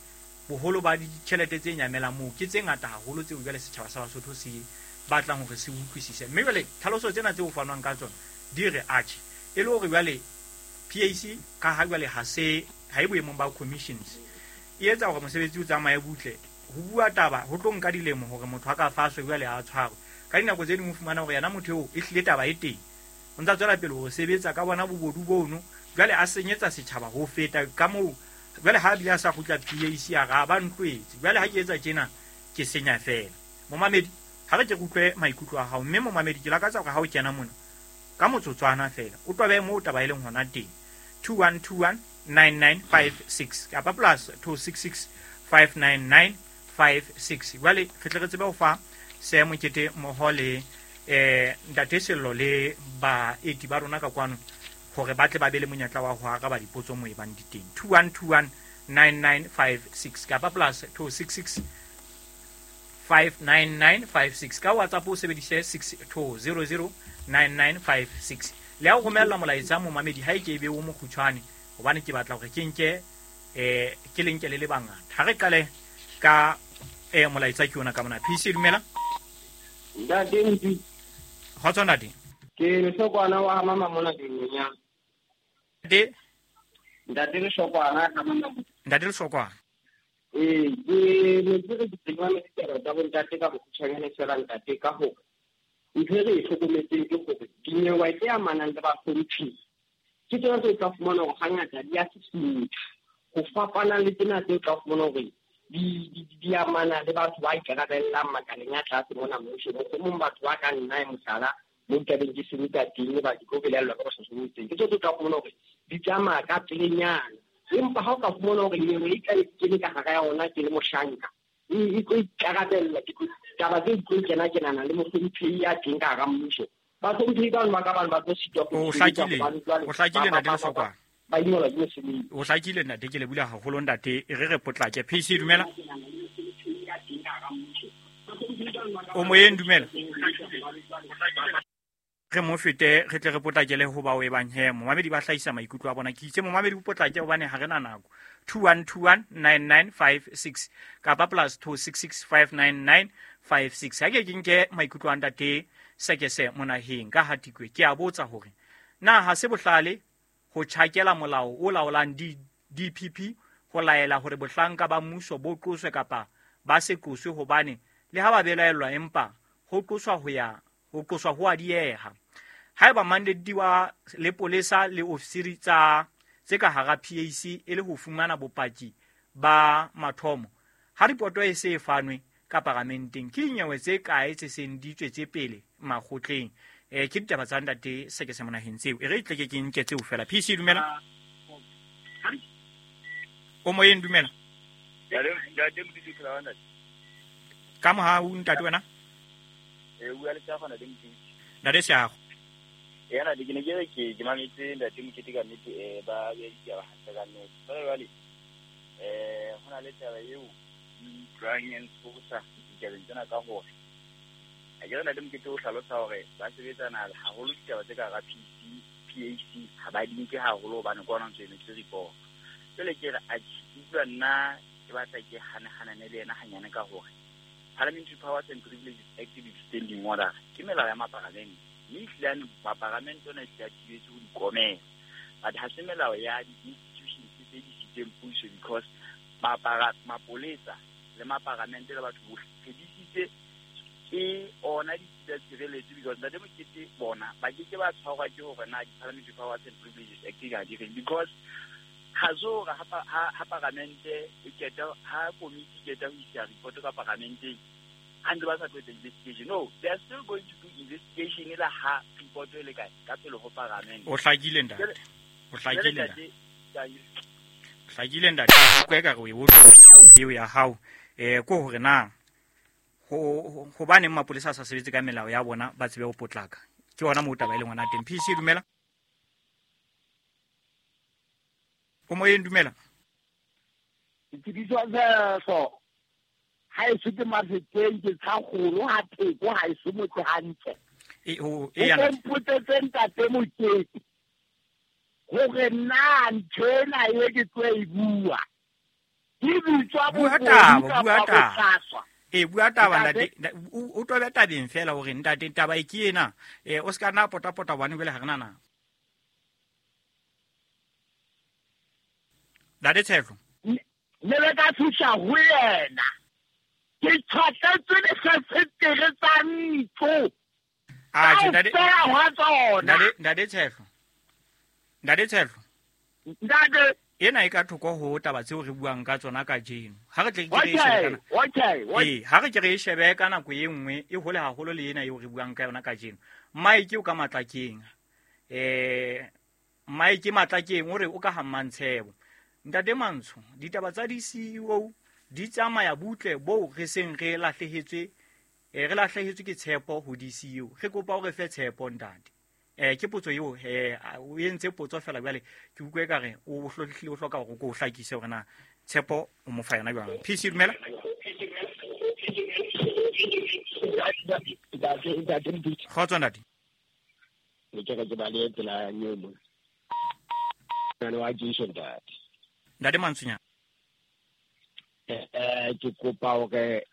boholo ba ditjhelete tse nyamelang moo ke tse ngata haholo tseo jwale setjhaba sa Basotho se batlang hore se utlwisise. Mme jwale tlhaloso tsena tseo fanwang ka tsona di re atjhe e le hore jwale PAC ka ha jwale ha e boemong ba commissions e etsa hore mosebetsi o tsamaye butle. Ho bua taba ho tlo nka dilemo hore motho a ka faswe jwale a tshwarwe. Ka dinako tse ding o fumana hore yena motho eo e hlile taba e teng, o ntsa tswela pele ho sebetsa ka bona bobodu bono, jwale a senyetsa setjhaba ho feta ka moo. Jwale ha bile a sa kgutla PAC a ra ba ntlwetse. Jwale ha ke etsa tjena ke senya fela. Momamedi, ha re ke utlwe maikutlo a hao, mme momamedi ke lakatsa hore ha o kena mona ka motsotswana fela o tobe moo taba e leng hona teng. 2121 9956 kapa plus 266 599 56. Jwale re tle re tsebe ho fa Sam Mokete mmoho le ntate Sello le baeti ba rona ka kwano hore ba tle ba be le monyetla wa ho araba dipotso moo e bang di teng. 2121 9956 kapa plus 266 599 56. Ka WhatsApp o sebedise 6200 9956. Le ha o romella molaetsa momamedi ha e ke be o mokgutshwane, hobane ke batla hore ke nke ke lenke le le bangata. Ha re qale ka molaetsa ke yona ka mona. PC dumela. Ntate Ntsi. Kgotso ntate. Ke Lehlokwana wa mama mona Dinonyana. Ntate. Ntate Lehlokwana ha mama. Ntate Lehlokwana. Ke ne ke re ke ditaba tsa bontate ka bokgutshwanyane fela ntate, ka hore ntho e re e hlokometseng ke hore dinyewe tse amanang le bahlomphehi ke tsona tse o tla fumana hore hangata di a susumetsa ho fapana le tsena tse o tla fumana hore di amana le batho ba ikarabellang makaleng a tlase mona mmuso. Mohlomong batho ba ka nna e mohlala mo ntabeng ke sebetsa teng, ba ke tlo belellwa ka bohlahlobo teng. Ke tseo tse o tla fumana hore tsamaya ka pelenyana. Empa ha o ka fumana hore nyewe e tla kene ka hara yona ke le moshanka, e tlo ikarabella, ke taba tse tlo kena-kenana le mohlomphehi ya teng ka hara mmuso. Bahlomphehi bano ba ka bano ba tlo sitwa O hlakile, o hlakile ntate Lesokwana. Ba ingolwa ke mosebetsi. O hlakile ntate, ke le bula haholo ntate, e re re potlake. PC dumela. O moyeng dumela. Re mo fete re tle re potlakele ho bao e bang he momamedi ba hlahisa maikutlo a bona. Ke itse momamedi o potlake hobane ha re na nako. 21219956 kapa plus 26659956. Ha ke ke nke maikutlo a ntate Sekese Monaheng ka Hatikwe. Ke a botsa hore na ha se bohlale ho tjhakela molao o laolang DPP ho laela hore bohlanka ba mmuso bo qoswe kapa ba se qoswe, hobane le ha ba belaellwa empa ho qoswa ho ya ho qoswa ho a dieha. Haeba mandate wa lepolesa le ofisiri tsa tse ka hara PAC e le ho fumana bopaki ba mathomo, ha ripoto e se e fanwe ka paramenteng, ke dinyewe tse kae tse seng di tswetse pele makgotleng? Ke ditaba tsa ntate Sekese Monaheng tseo. E re tle ke nke tseo fela. PC dumela. O moyeng dumela. Ka mohau ntate wena. Ntate Seago. Yana ke ne ke re ke mametse ntate Mokete ka nnete, ba beha ditaba hantle ka nnete. Jwale ho na le taba eo ke utlwang e ntshosa ditabeng tsena ka hore ha ke re ntate Mokete o hlalosa hore ba sebetsana haholo ditaba tse ka hara PAC ha ba di nke haholo hobane ke ona ntso emetse report. Jwale ke re atjhe, utlwa nna ke batla ke hane-hanane le yena hanyane ka hore Parliamentary Powers and Privileges Act le Standing Order ke melao ya maparamente, mme ehlile maparamente ona ehlile a thibetse ho di komela, but ha se melao ya di-institutions tse di sitseng puso, because mapolesa le maparamente le batho bohle re disitse ke ona ditsi tsa tshireletso, because ntate Mokete bona ba ke ke ba tshwarwa ke hore na di-Parliamentary Powers and Privileges Act ha di reng, because ha se hore ha paramente e qeta, ha komiti e qeta ho isa report ka paramenteng, ha ntse ba sa tlo etsa investigation. No, they are still going to do investigation e la ha report e le kae ka pele ho paramente. O hlakile ntate. O hlakile ntate. Hlakile ntate. Ke ka re o e utlwa eo ya hao. Ko hore na hobaneng mapolesa a sa sebetse ka melao ya bona ba tsebe ho potlaka. Ke hona moo taba e leng hona teng. PC dumela. O moyeng dumela. Ke bitswa Tshehlo. Ha e se ke Mafeteng, ke Tshakgolo ha Theko, ha e se motse hantle. E yana. O mpotsetse ntate Mokete hore na ntho ena e ke tlo e bua ke bitswa Bua taba, bua taba. Bua taba ntate, o tobe tabeng fela hore ntate taba e ke ena. O ska nna pota-pota hobane jwale ha re na nako. Ntate Tshehlo. Ne le ka thusa ho yena. Ke tjhatletswe difensetere tsa ntlo. Atjhe, ntate. Ntate, ntate Tshehlo. Ntate Tshehlo. Ntate. Ena e ka thoko ho taba tseo re buang ka tsona kajeno. Ha re tle ke re e shebe kana. Okay. Ha re ke re e shebe ka nako e nngwe e hole haholo le ena eo re buang ka yona kajeno. Mike o ka Matlakeng. Mike Matlakeng o re o ka ha Mmantshebo. Ntate Mantsho, ditaba tsa di-CEO di tsamaya butle boo re seng re lahlehetswe, re lahlehetswe ke tshepo ho di-CEO. Re kopa o re fe tshepo ntate. Ke potso eo, o entse potso fela jwale ke utlwe ekare o hlohlile, o hloka hore o ko hlakise hore na tshepo o mo fa yona jwang. PC dumela. Kgotso ntate. Ne ke re ke ba le tsela eo mo. Nna wa Jason ntate. Ntate Mantsonyana. Ke kopa hore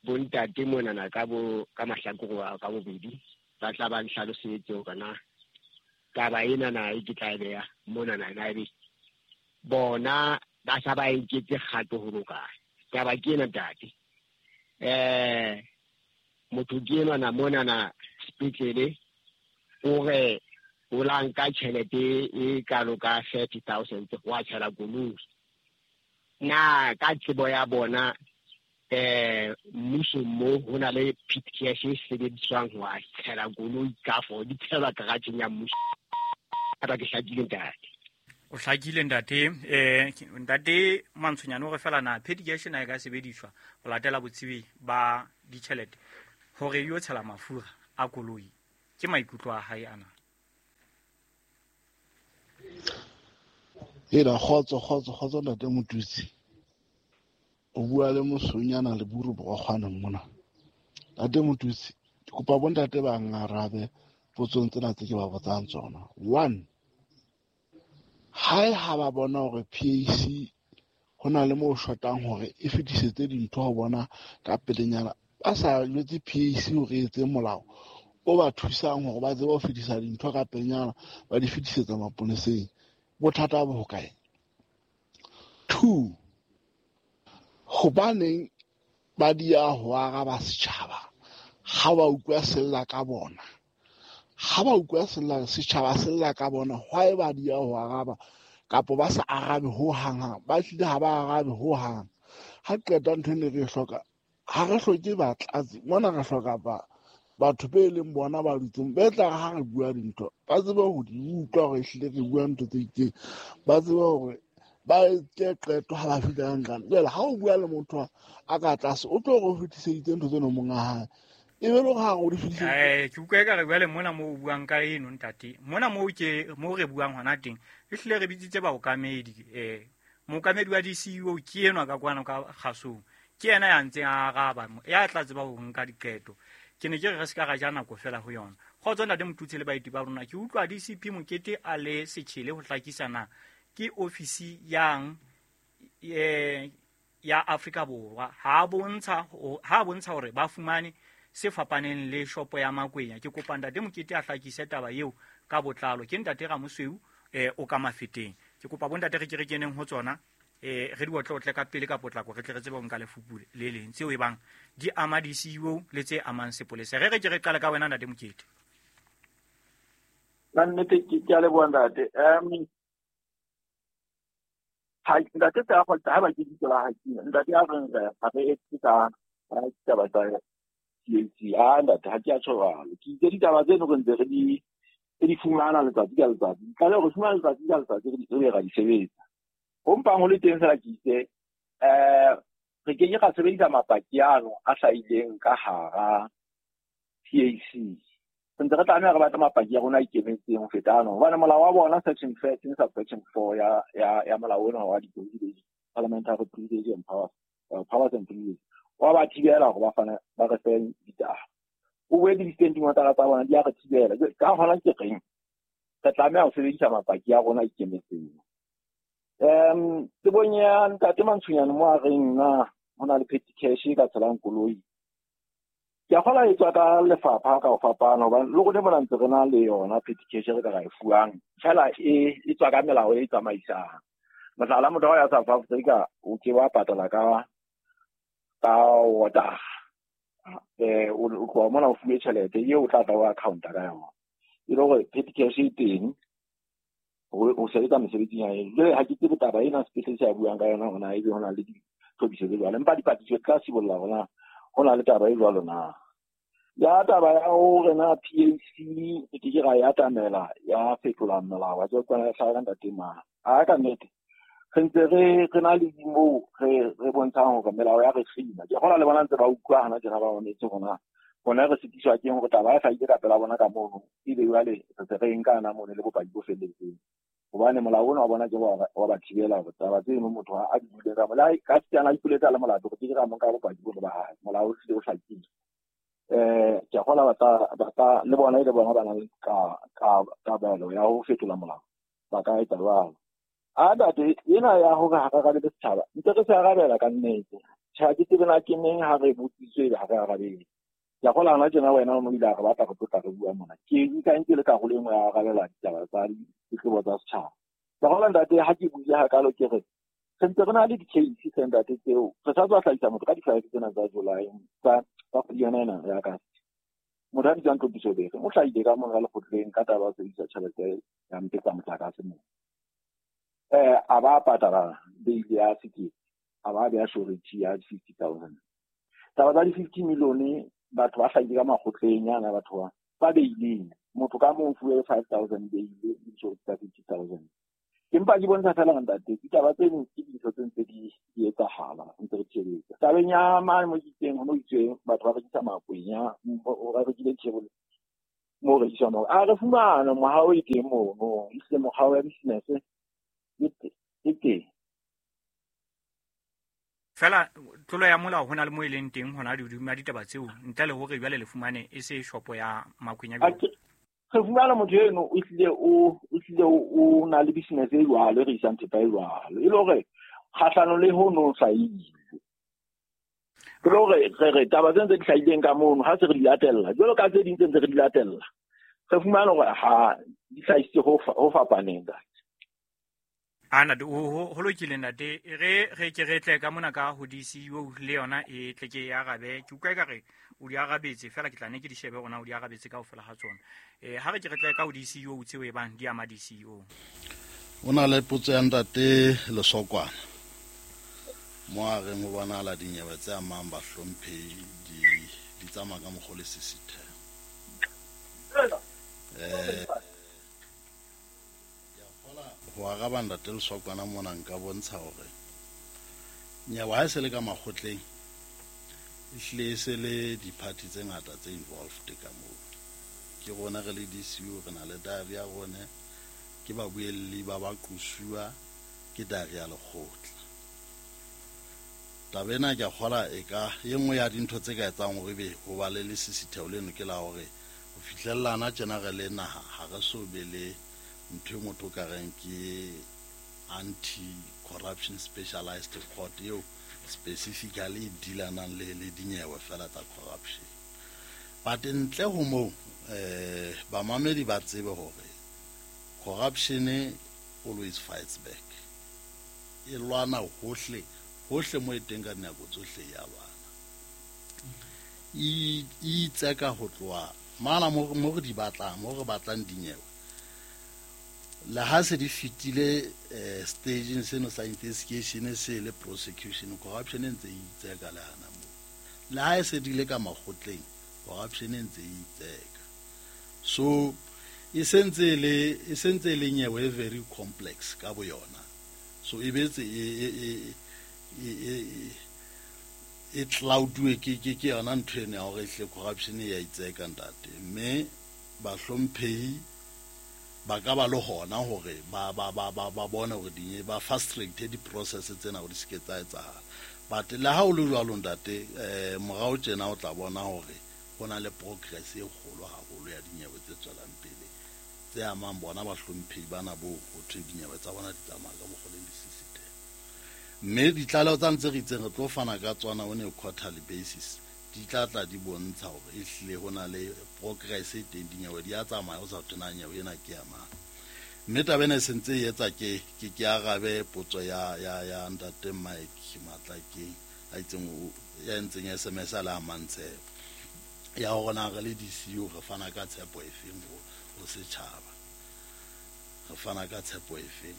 bontate monana ka bo ka mahlakore ka bobedi ba tla ba nhlalosetse hore na taba ena na e ke tla e beha monana na ebe bona ba sa ba nketse kgato ho loka. Taba ke ena ntate. Motho ke enwa na monana sepetlele o re o la nka tjhelete e kalo ka 30,000 wa tshela koloi. Na ka tsebo ya bona mmuso mo ho na le PTS e sebediswang ho tshela koloi ka fo di tshelwa garage ya mmuso. Ba ke hlakile ntate. O hlakile ntate. Ntate Mantshonyane o re fela na petty cash na e ka sebediswa ho latela botsebi ba ditjhelete hore yo tshela mafura a koloi. Ke maikutlo a hae ana. Ela kgotso kgotso kgotso ntate Motutsi. O bua le mosonyana le buru bo kgwana mona. Ntate Motutsi, ke kopa bontate ba ngarabe potsong tsena tse ke ba botsang tsona. 1, hae ha ba bona hore PAC ho na le mo shotang hore e fetisetse dintho ho bona ka pelenyana, ba sa jwetse PAC hore e etse molao o ba thusang hore ba tsebe ho fetisa dintho ka pelenyana, ba di fetisetsa maponeseng. Bothata bo hokae? 2, hobaneng ba dia ho araba setjhaba ha ba utlwa sella ka bona? Ha ba utlwa sella setjhaba sella ka bona, why ba dia ho araba kapa ba sa arabe ho hang hang? Ba hlile ha ba arabe ho hang. Ha qeta ntho ene re hloka, ha re hloke batlatsi mona, re hloka batho be leng bona ba dutseng be tla ha re bua dintho ba tsebe ho di utlwa hore ehlile re bua ntho tse itseng, ba tsebe hore ba etse qeto ha ba fihla nqane. Jwale ha o bua le motho a ka tlase o tlo re o fetiseditse ntho tseno monga hae, e be le hore ha o di fetiseditse. Ke utlwa ekare jwale mona moo o buang ka eno ntate, mona moo ke moo re buang hona teng, ehlile re bitsitse baokamedi. Mookamedi wa DCEO ke enwa ka kwana ka kgasong, ke yena ya ntseng a araba, ya tla tseba ho nka diqeto. Ke ne ke re re se ka ra ja nako fela ho yona. Kgotso ntate Motutsi le baeti ba rona, ke utlwa DCP Mokete a le setjhele ho hlakisa na ke ofisi yang ya Afrika Borwa ha bontsha hore ba fumane se fapaneng le shopo ya Makwenya. Ke kopa ntate Mokete a hlakise taba eo ka botlalo. Ke ntate Ramosweu o ka Mafeteng. Ke kopa bontate re ke re keneng ho tsona, re di otlotle ka pele ka potlako, re tle re tsebe ho nka lefupu le leng tseo e bang di ama DCEO le tse amang sepolesa. Re ke re qale ka wena ntate Mokete. Ka nnete ke a leboha ntate. Ha ntate tsa go ha ba ke ditso la ha ke ntate a reng re ha re etse ka ditaba tsa PAC. A ntate ha ke a tshwara ke itse ditaba tseno re ntse re di fumana letsatsi ka letsatsi, ka le re fumana letsatsi ka letsatsi re ra di sebetsa. Ho mpang ho le teng fela ke itse re ke ke ra sebedisa mapaki ano a hlahileng ka hara PAC. Re ntse re tlameha re batla mapaki a rona a ikemetseng ho feta ano, hobane molao wa bona section 13 subsection 4 ya molao ona wa di-privilege, parliamentary privilege and powers, powers and privilege, wa ba thibela hore ba fane ba re fe ditaba. O boetse di-standing order tsa bona di a re thibela. Ka hona ke reng re tlameha ho sebedisa mapaki a rona a ikemetseng. Tsebong ya ntate Mantshonyane mo a reng na ho na le petty cash e ka tshelang koloi, ke a kgola e tswa ka lefapha ka ho fapana, hobane le rona mona ntse re na le yona petty cash re ka ra e fuwang, fela e tswa ka melao e tsamaisang. Mohlala, motho wa ya South Africa o ke wa patala ka order, o tloha mona o fuwe tjhelete eo o tla tla o account-a ka yona, e le hore petty cash e teng o sebetsa mesebetsing ya eng. Jwale ha ke tsebe taba ena sepetlele se a buang ka yona hore na ebe ho na le ditlhophiso tse jwalo, empa dipatlisiso di tla sibolla hore na ho na le taba e jwalo na. Ya taba ya hore na PAC e ke ke ra e atamela ya fetola molao wa tswa hlaha ka ntate mang, a ka nnete re ntse re na le moo re bontshang hore melao ya re kgina. Ke kgona le bona ntse ba utlwa hana tjena ba mametse hore bona re sitiswa ke hore taba e hlahile ka pela bona ka mono, ebe jwale re se re nka na mono le bopaki bo felletseng, hobane molao ona wa bona ke wa ba thibela hore taba tseno motho a di buile ka molao ka setsana a ipoletsa le molato, re ke ra mo nka bopaki bo ba hae. Molao o hlile o hlakile. Ke a kgola ba le bona e le bona ba nang le kabelo ya ho fetola molao, ba ka etsa jwalo. A ntate ena ya hore ha re arabele setjhaba, ntse re se arabela ka nnete. Tjhe, ha ke tsebe na ke neng ha re botsitswe ebe ha re arabele. Ke a kgola hona tjena wena o no ile a re batla re tlotla re bua mona. Ke nka nke le karolo e nngwe ya arabela ditaba tsa ditletlebo tsa setjhaba. Ke a kgola ntate ha ke buile hakalo ke re re ntse re na le di-case tse ntate tseo re sa tswa hlahisa motho ka di-5 tsena tsa July tsa kgwedi yona ena ya August. Motho a bitswang Tlhophiso Bere o hlahile ka mona lekgotleng ka taba ya ho sebedisa tjhelete ya mpetsa motlakase moo. A ba patala bail ya sekete, a ba beha surety ya 50,000. Taba tsa di-50 million batho ba hlahile ka makgotleng yana, batho ba beileng motho ka mong fuwe 5,000 bail le surety tsa 50,000. Ke mpa ke bontsha fela ntate, ditaba tseno ke dintho tse ntse di etsahala, ntse re tshebetsa. Tabeng ya mane mo itseng ho no itswe batho ba rekisa makwenya, ba rekile table mo rekiswang moo. A re fumana mohao e teng mono, ehlile mokgwa wa business e teng. Fela tlolo ya molao ho na le mo e leng teng hona hodima ditaba tseo, ntle le hore jwale le fumane e se shopo ya makwenya. Re fumana motho eno o hlile o na le business e jwalo, e rekisang thepa e jwalo, e le hore kgahlano le ho no hlahile. Ke le hore re taba tse ntse di hlahileng ka mono ha se re di latella, jwalo ka tse ding tse ntse re di latella, re fumana hore ha di hlahisitse ho fapaneng. Ana ho lokile ntate, re ke re tle ka mona ka ho DCU le yona e tle ke e arabe. Ke utlwa ekare o di arabetse fela, ke tla ne ke di shebe hore na o di arabetse kaofela ha tsona. Ha re ke re tle ka ho DCU tseo e bang di ama DCU. O na le potso ya ntate Lesokwana mo a reng ho bonahala dinyewe tse amang bahlomphehi di tsamaya ka mokgwa o lesisitheho. Ho araba ntate Lesokwana mona nka bontsha hore nyewe ha e se le ka makgotleng, ehlile e se le di-party tse ngata tse involved ka moo. Ke rona re le DCU, re na le diary ya rona, ke babuelli ba baqusuwa, ke diary ya lekgotla. Taba ena ke a kgola e ka e nngwe ya dintho tse ka etsang hore ebe ho ba le lesisitheho leno ke la hore ho fihlellana tjena re le naha ha re so be le ntho e motho ka reng ke anti-corruption specialized court eo specifically e dealanang le dinyewe fela tsa corruption. But ntle ho moo, bamamedi ba tsebe hore corruption always fights back. E lwana hohle, hohle mo e teng ka dinako tsohle ya lwana. E itseka ho tloha mala mo re di batlang, mo re batlang dinyewe. Le ha se di fetile stageng seno sa investigation se le prosecution, corruption e ntse e itseka le hana moo. Le ha e se di le ka makgotleng, corruption e ntse e itseka. So e sentse le nyewe e very complex ka boyona. So e betse e clouduwe ke yona ntho eno ya hore ehlile corruption e ya itseka ntate. Mme bahlomphehi ba ka ba le hona hore ba bone hore dinye ba frustrate di-process tsena hore di se ke tsa etsahala. But le ha o le jwalo ntate, morao tjena o tla bona hore ho na le progress e kgolo haholo ya dinyewe tse tswelang pele tse amang bona bahlomphehi bana bo ho thwe dinyewe tsa bona di tsamaya ka mokgwa o lesisitheho. Mme ditlaleho tsa ntse re itseng re tlo fana ka tsona on a quarterly basis, di tla tla di bontsha hore ehlile ho na le progress e teng, dinyewe di a tsamaya ho sa thwe na nyewe ena ke ya mang. Mme taba ena e sentse e etsa ke arabe potso ya ntate Mike Matlakeng a itseng ya entseng SMS a le a Mantshebo ya hore na re le DCU re fana ka tshepo efeng ho setjhaba, re fana ka tshepo efeng.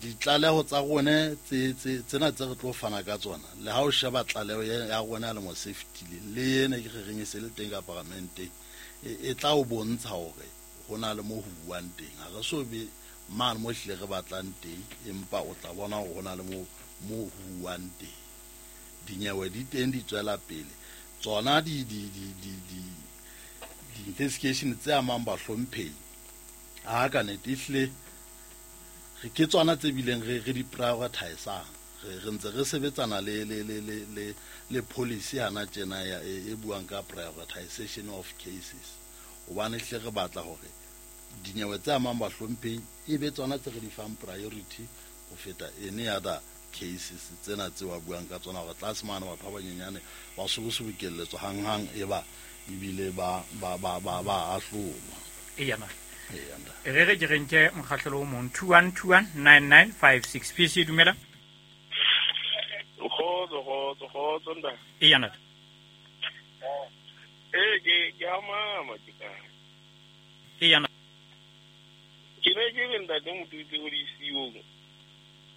Ditlaleho tsa rone tsena tse re tlo fana ka tsona, le ha o sheba tlaleho ya rona ya lemo se fetileng le ena ke re reng e se le teng ka paramenteng, e tla o bontsha hore ho na le mo ho buang teng. Ha re so be mane mo hlile re batlang teng, empa o tla bona hore ho na le mo ho buang teng. Dinyewe di teng di tswela pele. Tsona di investigation tse amang bahlomphehi ha ka nete ehlile ke tsona tse bileng re di prioritisang. Re ntse re sebetsana le policy hana tjena ya e buang ka prioritization of cases, hobane hle re batla hore dinyewe tse amang bahlomphehi e be tsona tse re di fang priority ho feta any other cases tsena tse wa buang ka tsona, hore tlase mane batho ba banyenyane ba sobosobokelletswa hanghang e ba ebile ba ahlolwa. Eya na. Re ke re nke mokgahlelo o mong 21219956. PC dumela. Kgotso ntate. Eya ntate. Ke a mama ke ka. Eya ntate. Ke ne ke re ntate motho itse ho di-CEO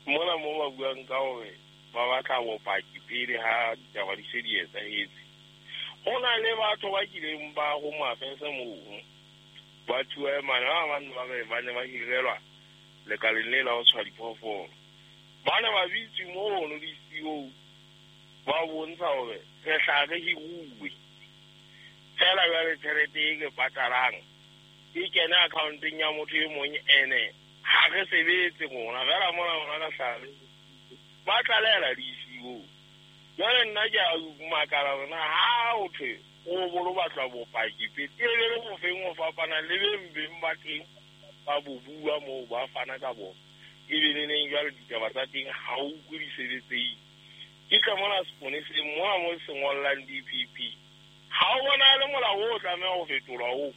mona mo ba buang ka hore ba batla bopaki pele ha ditaba di se di etsahetse. Ho na le batho ba kileng ba ho mafese moo ba thuwa mana ba bang ba re ba ne ba hirelwa Lekaleng le la ho tshwa diphoofolo. Ba ne ba bitse mono di-CEO ba bontsha hore re hla re hiruwe. Fela jwale tjhelete e ke patalang e kene accounteng ya motho e mong ene ha re sebetse rona fela mona rona re hla re ba tlalela di-CEO. Jwale nna ke a makala hore na ha ho thwe o bolo batla bopaki pele e be le bofeng ho fapana le beng beng ba teng ba bo bua moo ba fana ka bona. E be le neng jwale ditaba tsa teng ha o utlwe di sebetseile. Ke tla mona seponeseng mona mo se ngollang DPP. Ha o bonahale molao o tlameha ho fetolwa oo.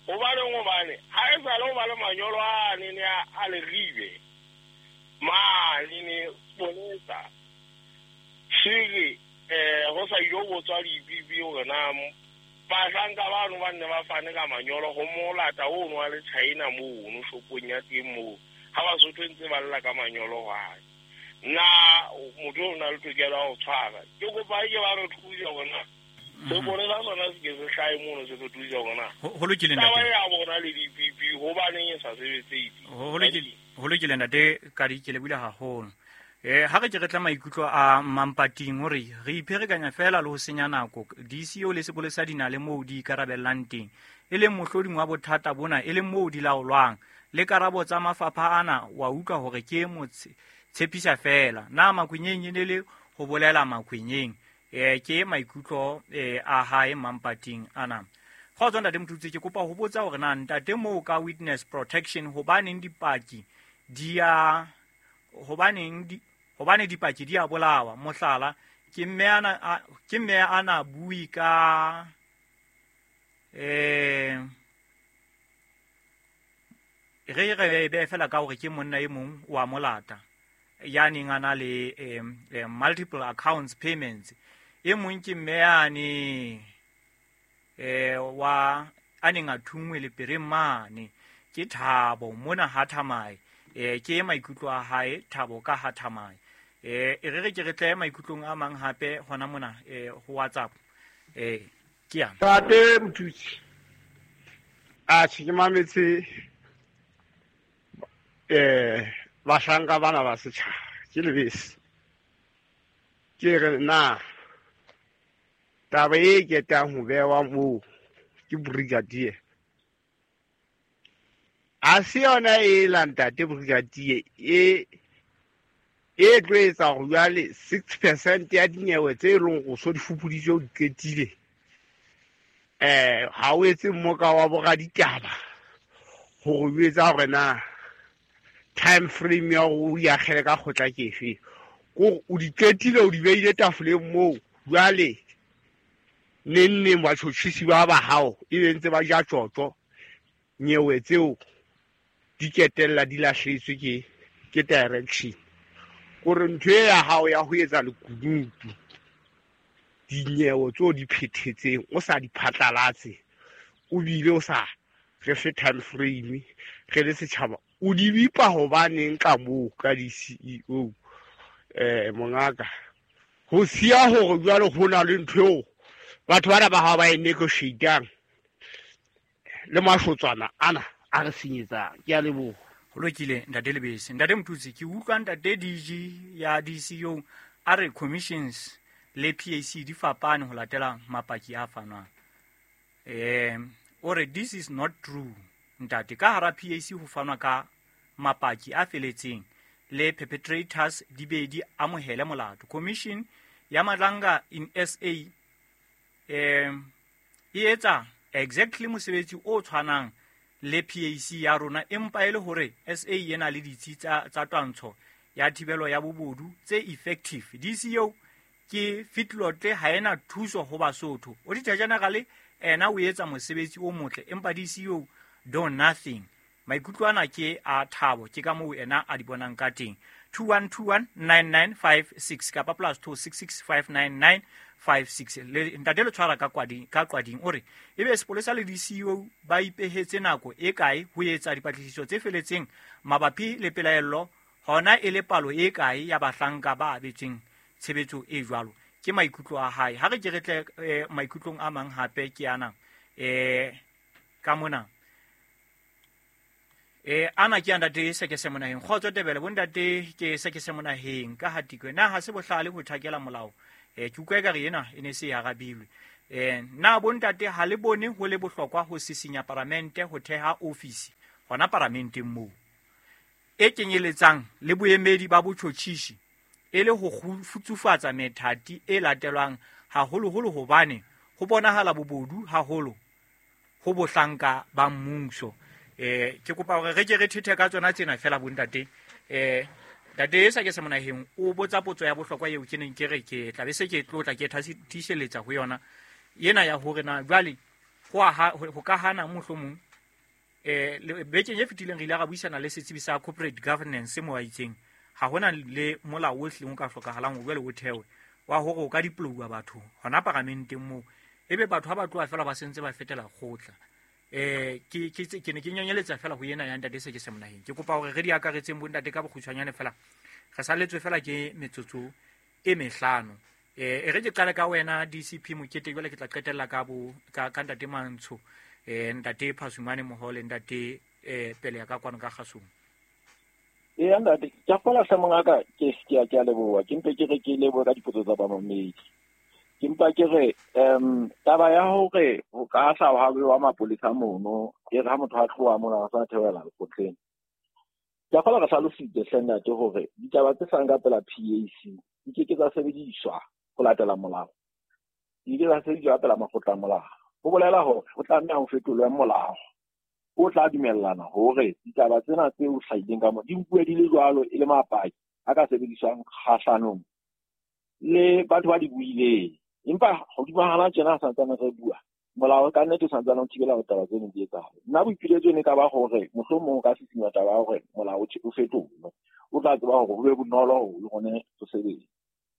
Hobaneng hobane ha e sale ho ba le manyolo a nene a leribe mane ne seponesa sere ho sa ilo botswa DPP hore na bahlanka bano ba nne ba fane ka manyolo ho molata ono wa le China mono shopong ya teng moo ha Basotho ntse ba lla ka manyolo hwae. Na motho o na le tokelo ya ho tshwara. Ke kopa ke ba re thuse hore na seponesa sona se ke se hlahe mono se re thuse hore na Ho lokile ntate. Taba ya bona le DPP hobaneng e sa sebetse. Ho lokile ntate Kadi, ke lebohile haholo. Ha re ke re tla maikutlo a Mampating hore re ipherekanya fela le ho senya nako. DCO le sepolesa di na le moo di ikarabellang teng, e leng mohloding wa bothata bona, e leng moo di laolwang. Le karabo tsa mafapha ana wa utlwa hore ke tshepisa fela. Na Makhwenyeng e ne le ho bolela Makhwenyeng? Ke maikutlo a hae Mampating ana. Kgotso ntate Motutsi, ke kopa ho botsa hore na ntate moo ka witness protection hobaneng dipaki di a hobaneng di hobane dipaki di a bolawa. Mohlala, ke mme ana bui ka re be fela ka hore ke monna e mong wa molata ya neng a na le multiple accounts payments. E mong ke mme ane wa a neng a thunngwe lepereng mane ke Thabo mona ha Thamae. Ke maikutlo a hae Thabo ka ha Thamae. E re ke re tle maikutlong a mang hape hona mona ho WhatsApp. Ke yana. Ntate Motutsi, atjhe ke mametse bahlanka bana ba setjhaba ke lebese. Ke re na taba e ketang ho bewa moo ke brigadier. A se yona e la ntate brigadier e tlo etsa hore jwale 6% ya dinyewe tse leng go so di fupuditswe o di qetile. Ha o etse mmoka wa boraditaba hore o etsa hore na time frame ya hore o akgele ka kgotla ke efe. Kore o di qetile o di beile tafoleng moo jwale neng neng batjhotjhisi ba ba hao e be ntse ba ja tjotjo nyewe tseo di ketella di lahletswe ke direction. Kore ntho e ya hao ya ho etsa lekunutu dinyewe tseo di phethetseng o sa di phatlalatse o bile o sa re fe time frame re le setjhaba o di bipa hobaneng ka moo ka di-CEO mongaka ho siya hore jwale ho na le ntho eo batho bana ba hao ba e negotiatang le mashotswana ana a re senyetsang. Ke a leboha. Ho lokile ntate Lebese. Ntate Motutsi, ke utlwa ntate DG ya DCO a re commissions le PAC di fapane ho latela mapaki a fanwang. O re this is not true ntate. Ka hara PAC ho fanwa ka mapaki a feletseng le perpetrators di be di amohele molato. Commission ya Madlanga in SA e etsa exactly mosebetsi o tshwanang le PAC ya rona, empa e le hore SA e na le ditsi tsa twantsho ya thibelo ya bobodu tse effective. DCO ke fitlotle ha ena thuso ho Basotho. Auditor General ena o etsa mosebetsi o motle, empa DCO do nothing. Maikutlo ana ke a Thabo, ke ka moo ena a di bonang ka teng. 21219956 kapa +26659956. Le ntate le tshwara ka qwading o re ebe sepolesa le DCO ba ipehetse nako e kae ho etsa dipatlisiso tse feletseng mabapi le pelaello, hona e le palo e kae ya bahlanka ba abetsweng tshebetso e jwalo. Ke maikutlo a hae. Ha re ke re tle maikutlong a mang hape ke ana ka mona. Ana ke ntate Sekese Monaheng. Kgotso Tebele, bontate ke Sekese Monaheng ka Hatikwe. Na ha se bohlale ho thakela molao? Ke utlwa ekare ena e ne se e arabilwe. Na bontate ha le bone ho le bohlokwa ho sisinya paramente ho theha ofisi hona paramenteng moo e kenyeletsang le boemedi ba botjhotjhisi e le ho futsufatsa methati e latelwang haholoholo hobane ho bonahala bobodu haholo ho bohlanka ba mmuso. Ke kopa hore re ke re thethe ka tsona tsena fela bontate. Ntate Sekese Monaheng o botsa potso ya bohlokwa eo ke neng ke re ke tla be se ke tlotla ke tiiseletsa ho yona ena ya hore na jwale ho ka hana mohlomong. Bekeng e fetileng re ile ra buisana le setsebi sa corporate governance mo a itseng ha hona le molao o hlileng o ka hlokahalang o jwale o thewe wa hore o ka diplouwa batho hona paramenteng moo, ebe batho ha ba tloha fela ba sentse ba fetela kgotla. Ke ne ke nyanyeletsa fela ho ena ya ntate Sekese Monaheng. Ke kopa hore re di akaretseng bontate ka bokgutshwanyane fela, re salletswe fela ke metsotso e mehlano. E re ke qale ka wena DCP Mokete, jwale ke tla qetella ka ka ntate Mantsho, ntate Phasumane Mohole, ntate Pele ya ka kwano ka kgasong. Eya ntate, ke a kgolwa hle mongaka, ke a leboha. Ke mpe ke re ke lebohe ka dipotso tsa bamamedi. Ke mpa ke re taba ya hore ho ka hla ha bewa mapolesa mono, e re ha motho a tloha mona a sa theohela lekgotleng. Ke a kgolwa re hlalositse hle ntate hore ditaba tse hlahang ka pela PAC di ke ke tsa sebediswa ho latela molao, di ke tsa sebediswa ka pela makgotla a molao. Ho bolela hore ho tlameha ho fetolwe molao o tla dumellana hore ditaba tsena tse o hlahileng ka mo di nkuwe di le jwalo e le mapaki a ka sebediswang kgahlanong le batho ba di buileng. Empa hodima hana tjena ha santsane re bua, molao ka nnete o santsane o thibela hore taba tseno di etsahale. Nna boipiletso ne ka ba hore mohlomong o ka sisinya taba ya hore molao o fetolwe, o tla tseba hore ho be bonolo hore le kgone ho sebetsa.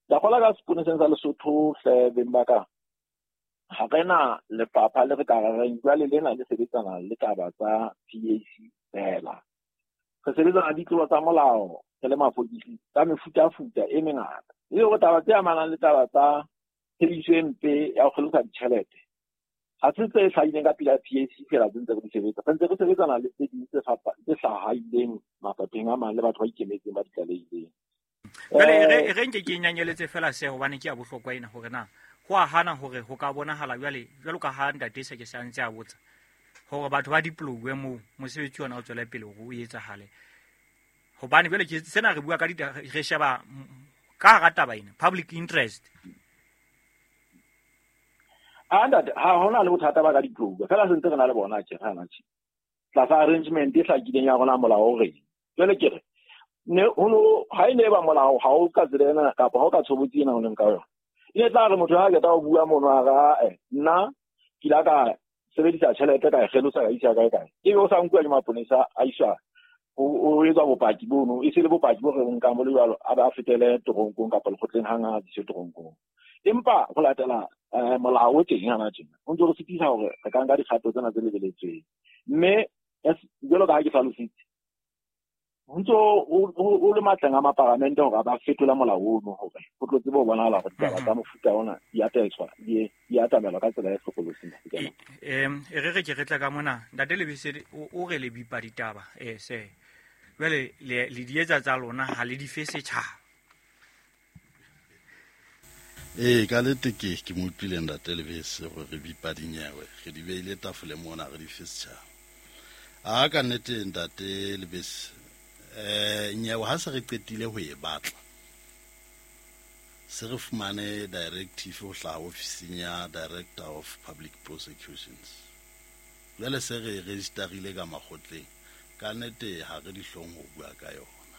Ke a kgolwa ka seponeseng sa Lesotho hle beng ba ka, ha re na lefapha le re ka reng jwale lena le sebetsana le taba tsa PAC fela. Re sebetsana le ditlolo tsa molao re le mapodisi ka mefutafuta e mengata. E le hore taba tse amanang le taba tsa tshebediso e mpe ya ho kgelosa ditjhelete ha se tse hlahileng ka pela PAC fela tse ntse re di sebetsa. Re ntse re sebetsana le tse ding tse hlahileng mafapheng a mang le batho ba ikemetseng ba di tlalehileng. Jwale re nke ke nyanyeletse fela se hobane ke ya bohlokwa ena hore na ho a hana hore ho ka bonahala jwale jwalo ka ha ntate Sekese a ntse a botsa hore batho ba diplouwe moo mosebetsi ona o tswele pele hore o etsahale. Hobane jwale ke sena re bua ka re sheba ka hara taba ena public interest. A ntate, ha hona le bothata ba ka diplouwa fela se ntse re na le bona tje hana tje tlasa arrangement e hlakileng ya rona molao o reng. Jwale ke re ne ho ha e ne ba molao ha o ka tsela ena kapa ha o ka tshobotsi ena o leng ka yona, e ne tla re motho ha qeta ho bua mono a re nna ke la ka sebedisa tjhelete ka e kgelosa ka isa kae kae, ebe o sa nkuwa ke maponesa a iswa o etswa bopaki bono, e se le bopaki bo re nkang bo le jwalo, a ba a fetele toronkong kapa lekgotleng hang ha a diswe toronkong. Empa ho latela molao o teng hana tjena o ntse re sitisa hore re ka nka dikgato tsena tse lebeletsweng. Mme jwalo ka ha ke hlalositse, ho ntso o le matleng a maparamente hore ba fetola molao ono hore ho tlo tsebe ho bonahala hore ditaba tsa mofuta ona di atetswa di atamelwa ka tsela e hlokolosi. E re ke re tla ka mona ntate Lebese o re le bipa ditaba se jwale le di etsa tsa lona ha le di fe setjhaba. Ka lete ke mo utlwile ntate Lebese hore re bipa dinyewe, re di beile tafole mona re di fe setjhaba. A ka nnete ntate Lebese, nyewe ha se re qetile ho e batla, se re fumane directive ho hlaha ofising ya Director of Public Prosecutions. Jwale se re registerile ka makgotleng, ka nnete ha re dihlong ho bua ka yona.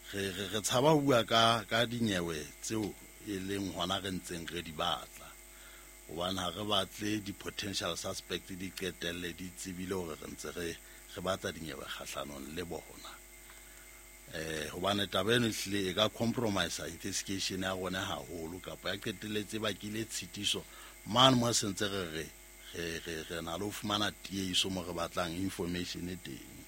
Re tshaba ho bua ka dinyewe tseo e leng hona re ntseng re di batla, hobane ha re batle di-potential suspect di qetelle di tsebile hore re ntse re batla dinyewe kgahlanong le bona. Hobane taba eno ehlile e ka compromise investigation ya rona haholo, kapa ya qetelletse bakile tshitiso mane mo se ntse re re na le ho fumana tiehiso mo re batlang information e teng.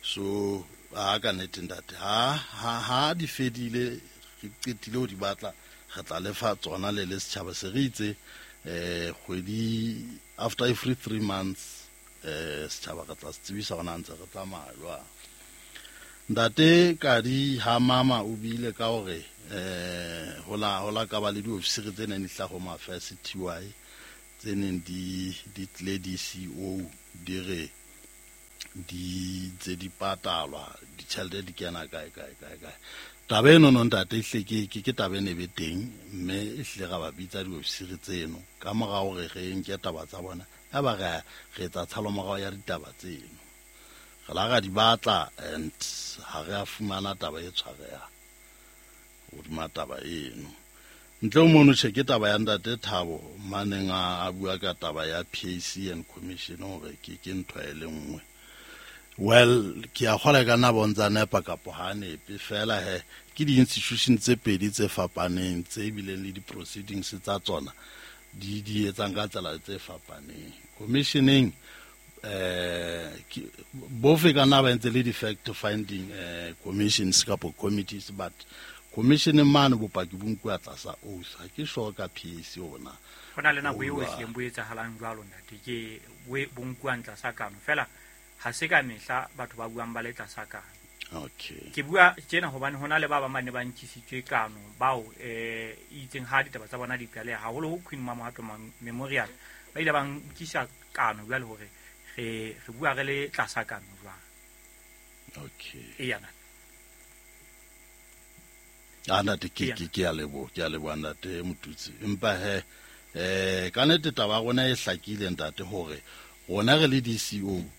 So a ka nnete ntate, ha di fedile re qetile ho di batla, re tla lefa tsona le le setjhaba. Se re itse kgwedi after every 3 months Setjhaba re tla se tsebisa hore na ntse re tsamaya jwang. Ntate Kadi ha mama o buile ka hore ho la ka ba le diofisiri tse neng di hlaha Home Affairs TY tse neng di tlile DCO di re di tse di patalwa ditjhelete di kena kae kae kae kae. Taba eno no ntate ehlile ke taba e ne be teng, mme ehlile ra ba bitsa diofisiri tseno ka mora hore re nke taba tsa bona, ya ba re etsa tshalomorao ya ditaba tseno. Re la ra di batla and ha re a fumana taba e tshwarehang hodima taba eno. Ntle ho mono tjhe ke taba ya ntate Thabo maneng a bua ka taba ya PAC and commission hore ke ntho e le nngwe. Well, ke a kgolwa ka nna bontsa nepa kapo ha nepe fela he ke di-institution tse pedi tse fapaneng tse bileng le di-proceedings tsa tsona di etsang ka tsela tse fapaneng. Commissioning bofe ka nna ba entse le di-fact finding commissions kapo committees, but commissioning mane bopaki bo nkuwa tlasa oath. Ha ke sure ka PAC ona. Ho na le nako eo ehlileng bo etsahalang jwalo ntate, ke bo nkuwang tlasa kano fela ha se ka mehla batho ba buang ba le tlasa kano. Okay. Ke bua tjena hobane hona le ba bang ba ne ba nkisitswe kano bao itseng ha ditaba tsa bona di qaleha haholo ho Queen Mamohato Memorial ba ile ba nkisa kano jwale hore re bua re le tlasa kano jwang. Okay. Eya. A ntate ke a leboha, ke a leboha ntate Motutsi. Empa he ka nnete taba ya rona e hlakile ntate hore rona re le DCO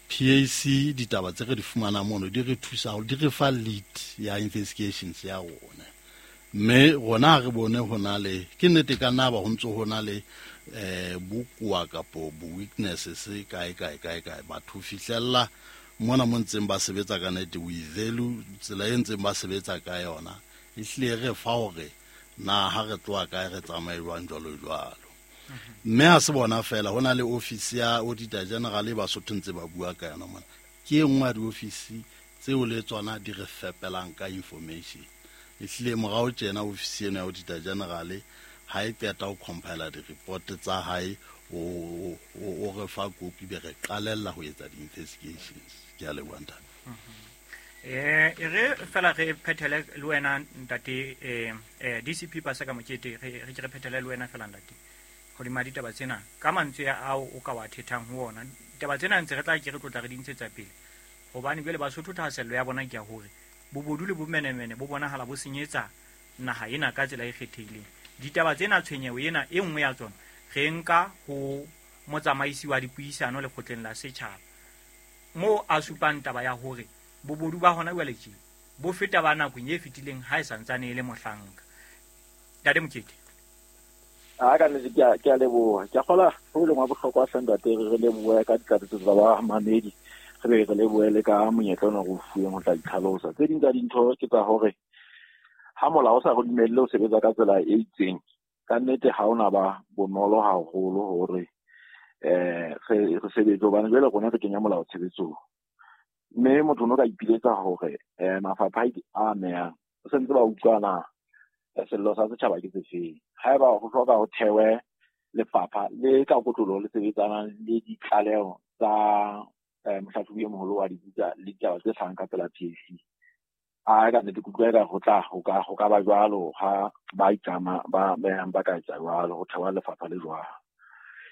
PAC ditaba tse re di fumanang mono di re thusa di re fa lead ya investigations ya rona. Mme rona re bone ho na le ke nnete ka nna ba ho ntso ho na le bokowa kapo bo weaknesses kae kae kae kae batho fihlella mona mo ntseng ba sebetsa ka nnete we value tsela e ntseng ba sebetsa ka yona ehlile re fa hore na ha re tloha kae re tsamaye jwang jwalo jwalo. Mme ha se bona fela ho na le office ya Auditor General e Basotho ntse ba bua ka yona mona. Ke e nngwe ya diofisi tseo le tsona di re fepelang ka information. Ehlile morao tjena ofisi eno ya Auditor General ha e qeta ho compile di-report tsa hae o re fa kopi be re qalella ho etsa di-investigations. Ke a leboha ntate. E re fela re phethele le wena ntate DCP Paseka Mokete, re ke re phethele le wena fela ntate hodima ditaba tsena ka mantswe ao o ka wa thethang ho ona. Ditaba tsena ntse re tla ke re tlotla re di ntshetsa pele hobane jwale Basotho thahasello ya bona ke ya hore bobodu le bomenemene bo bonahala bo senyetsa naha ena ka tsela e kgethehileng. Ditaba tsena tshwenyeho ena e nngwe ya tsona re nka ho motsamaisi wa dipuisano lekgotleng la setjhaba moo a supang taba ya hore bobodu ba hona jwale tje bo feta ba nakong e fetileng ha e santsane e le mohlanka. Ntate Mokete. A ka nnete ke a leboha. Ke a kgolwa ho leng wa bohlokwa hle ntate re lebohe ka ditlatsetso tsa ba mamedi, re be re lebohe le ka monyetla ona re o fuweng ho tla itlhalosa. Tse ding tsa dintho ke tsa hore ha molao o sa re dumelle ho sebetsa ka tsela e itseng, ka nnete ha ona ba bonolo haholo hore re sebetse hobane jwale rona re kenya molao tshebetsong. Mme motho o no ka ipiletsa hore mafapha a amehang o sentse ba utlwana sello sa setjhaba ke sefeng. Haeba ho hloka ho thewe lefapha le ka kotloloho le sebetsanang le ditlaleho tsa mohlahlobi e moholo wa dibuka le ditaba tse hlahang ka pela PAC. A ka nnete ke utlwa eka ho tla ho ka ba jwalo ha ba itlama ba behang ba ka etsa jwalo ho thewa lefapha le jwalo.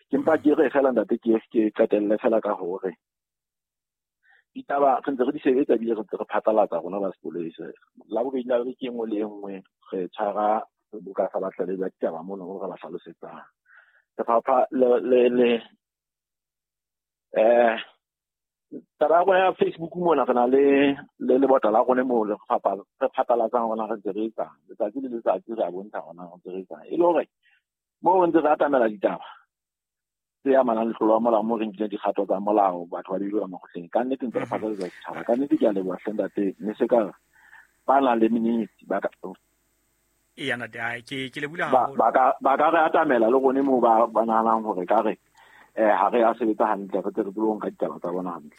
Ke mpa ke re fela ntate ke qetelle fela ka hore ditaba re ntse re di sebetsa ebile re ntse re phatlalatsa rona ba sepolesa. La bobedi la beke e nngwe le e nngwe re tshwara seboka sa batlalehi ba ditaba mono re ba hlalosetsang. Lefapha le taba ya rona ya Facebook mona re na le lebota la rona moo re phatlalatsang rona re ntse re etsang. Letsatsi le letsatsi re a bontsha rona re ntse re etsang. E le hore moo re ntse re atamela ditaba tse amanang le tlolo ya molao moo re nkileng dikgato tsa molao batho ba beilwe ka makgotleng. Ka nnete ntse re phatlalatsa setjhaba. Ka nnete ke a leboha hle ntate, mme se ka ba nang le menyenyetsi ba ka Eya ntate, ke lebohile haholo. Ba ka re atamela le rone moo ba nahanang hore ka re ha re a sebetsa hantle re tle re tsebe ho nka ditaba tsa bona hantle.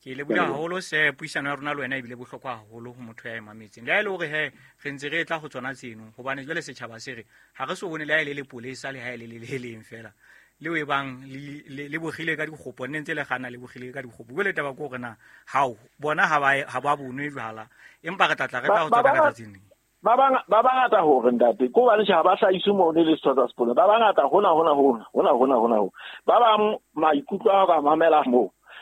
Ke lebohile haholo se puisano ya rona le wena ebile bohlokwa haholo ho motho ya e mametseng. Le ha e le hore he re ntse re tla ho tsona tseno hobane jwale setjhaba se re ha re so bone le ha e le lepolesa le ha e le le leng fela. Leo e bang le bogile ka dikgopo, nne ntse le gana le bogile ka dikgopo. Jwale taba ke hore na hao bona ha ba bonwe jwala, empa re tla tla re tla ho tsona ka tsatsing leng. Ba bangata hore ntate ko bane ha ba hlahiswe mo ne le setho tsa sepolesa. Ba bangata hona hona hona hona hona hona ho. Ba bang maikutlo a ka mamela moo.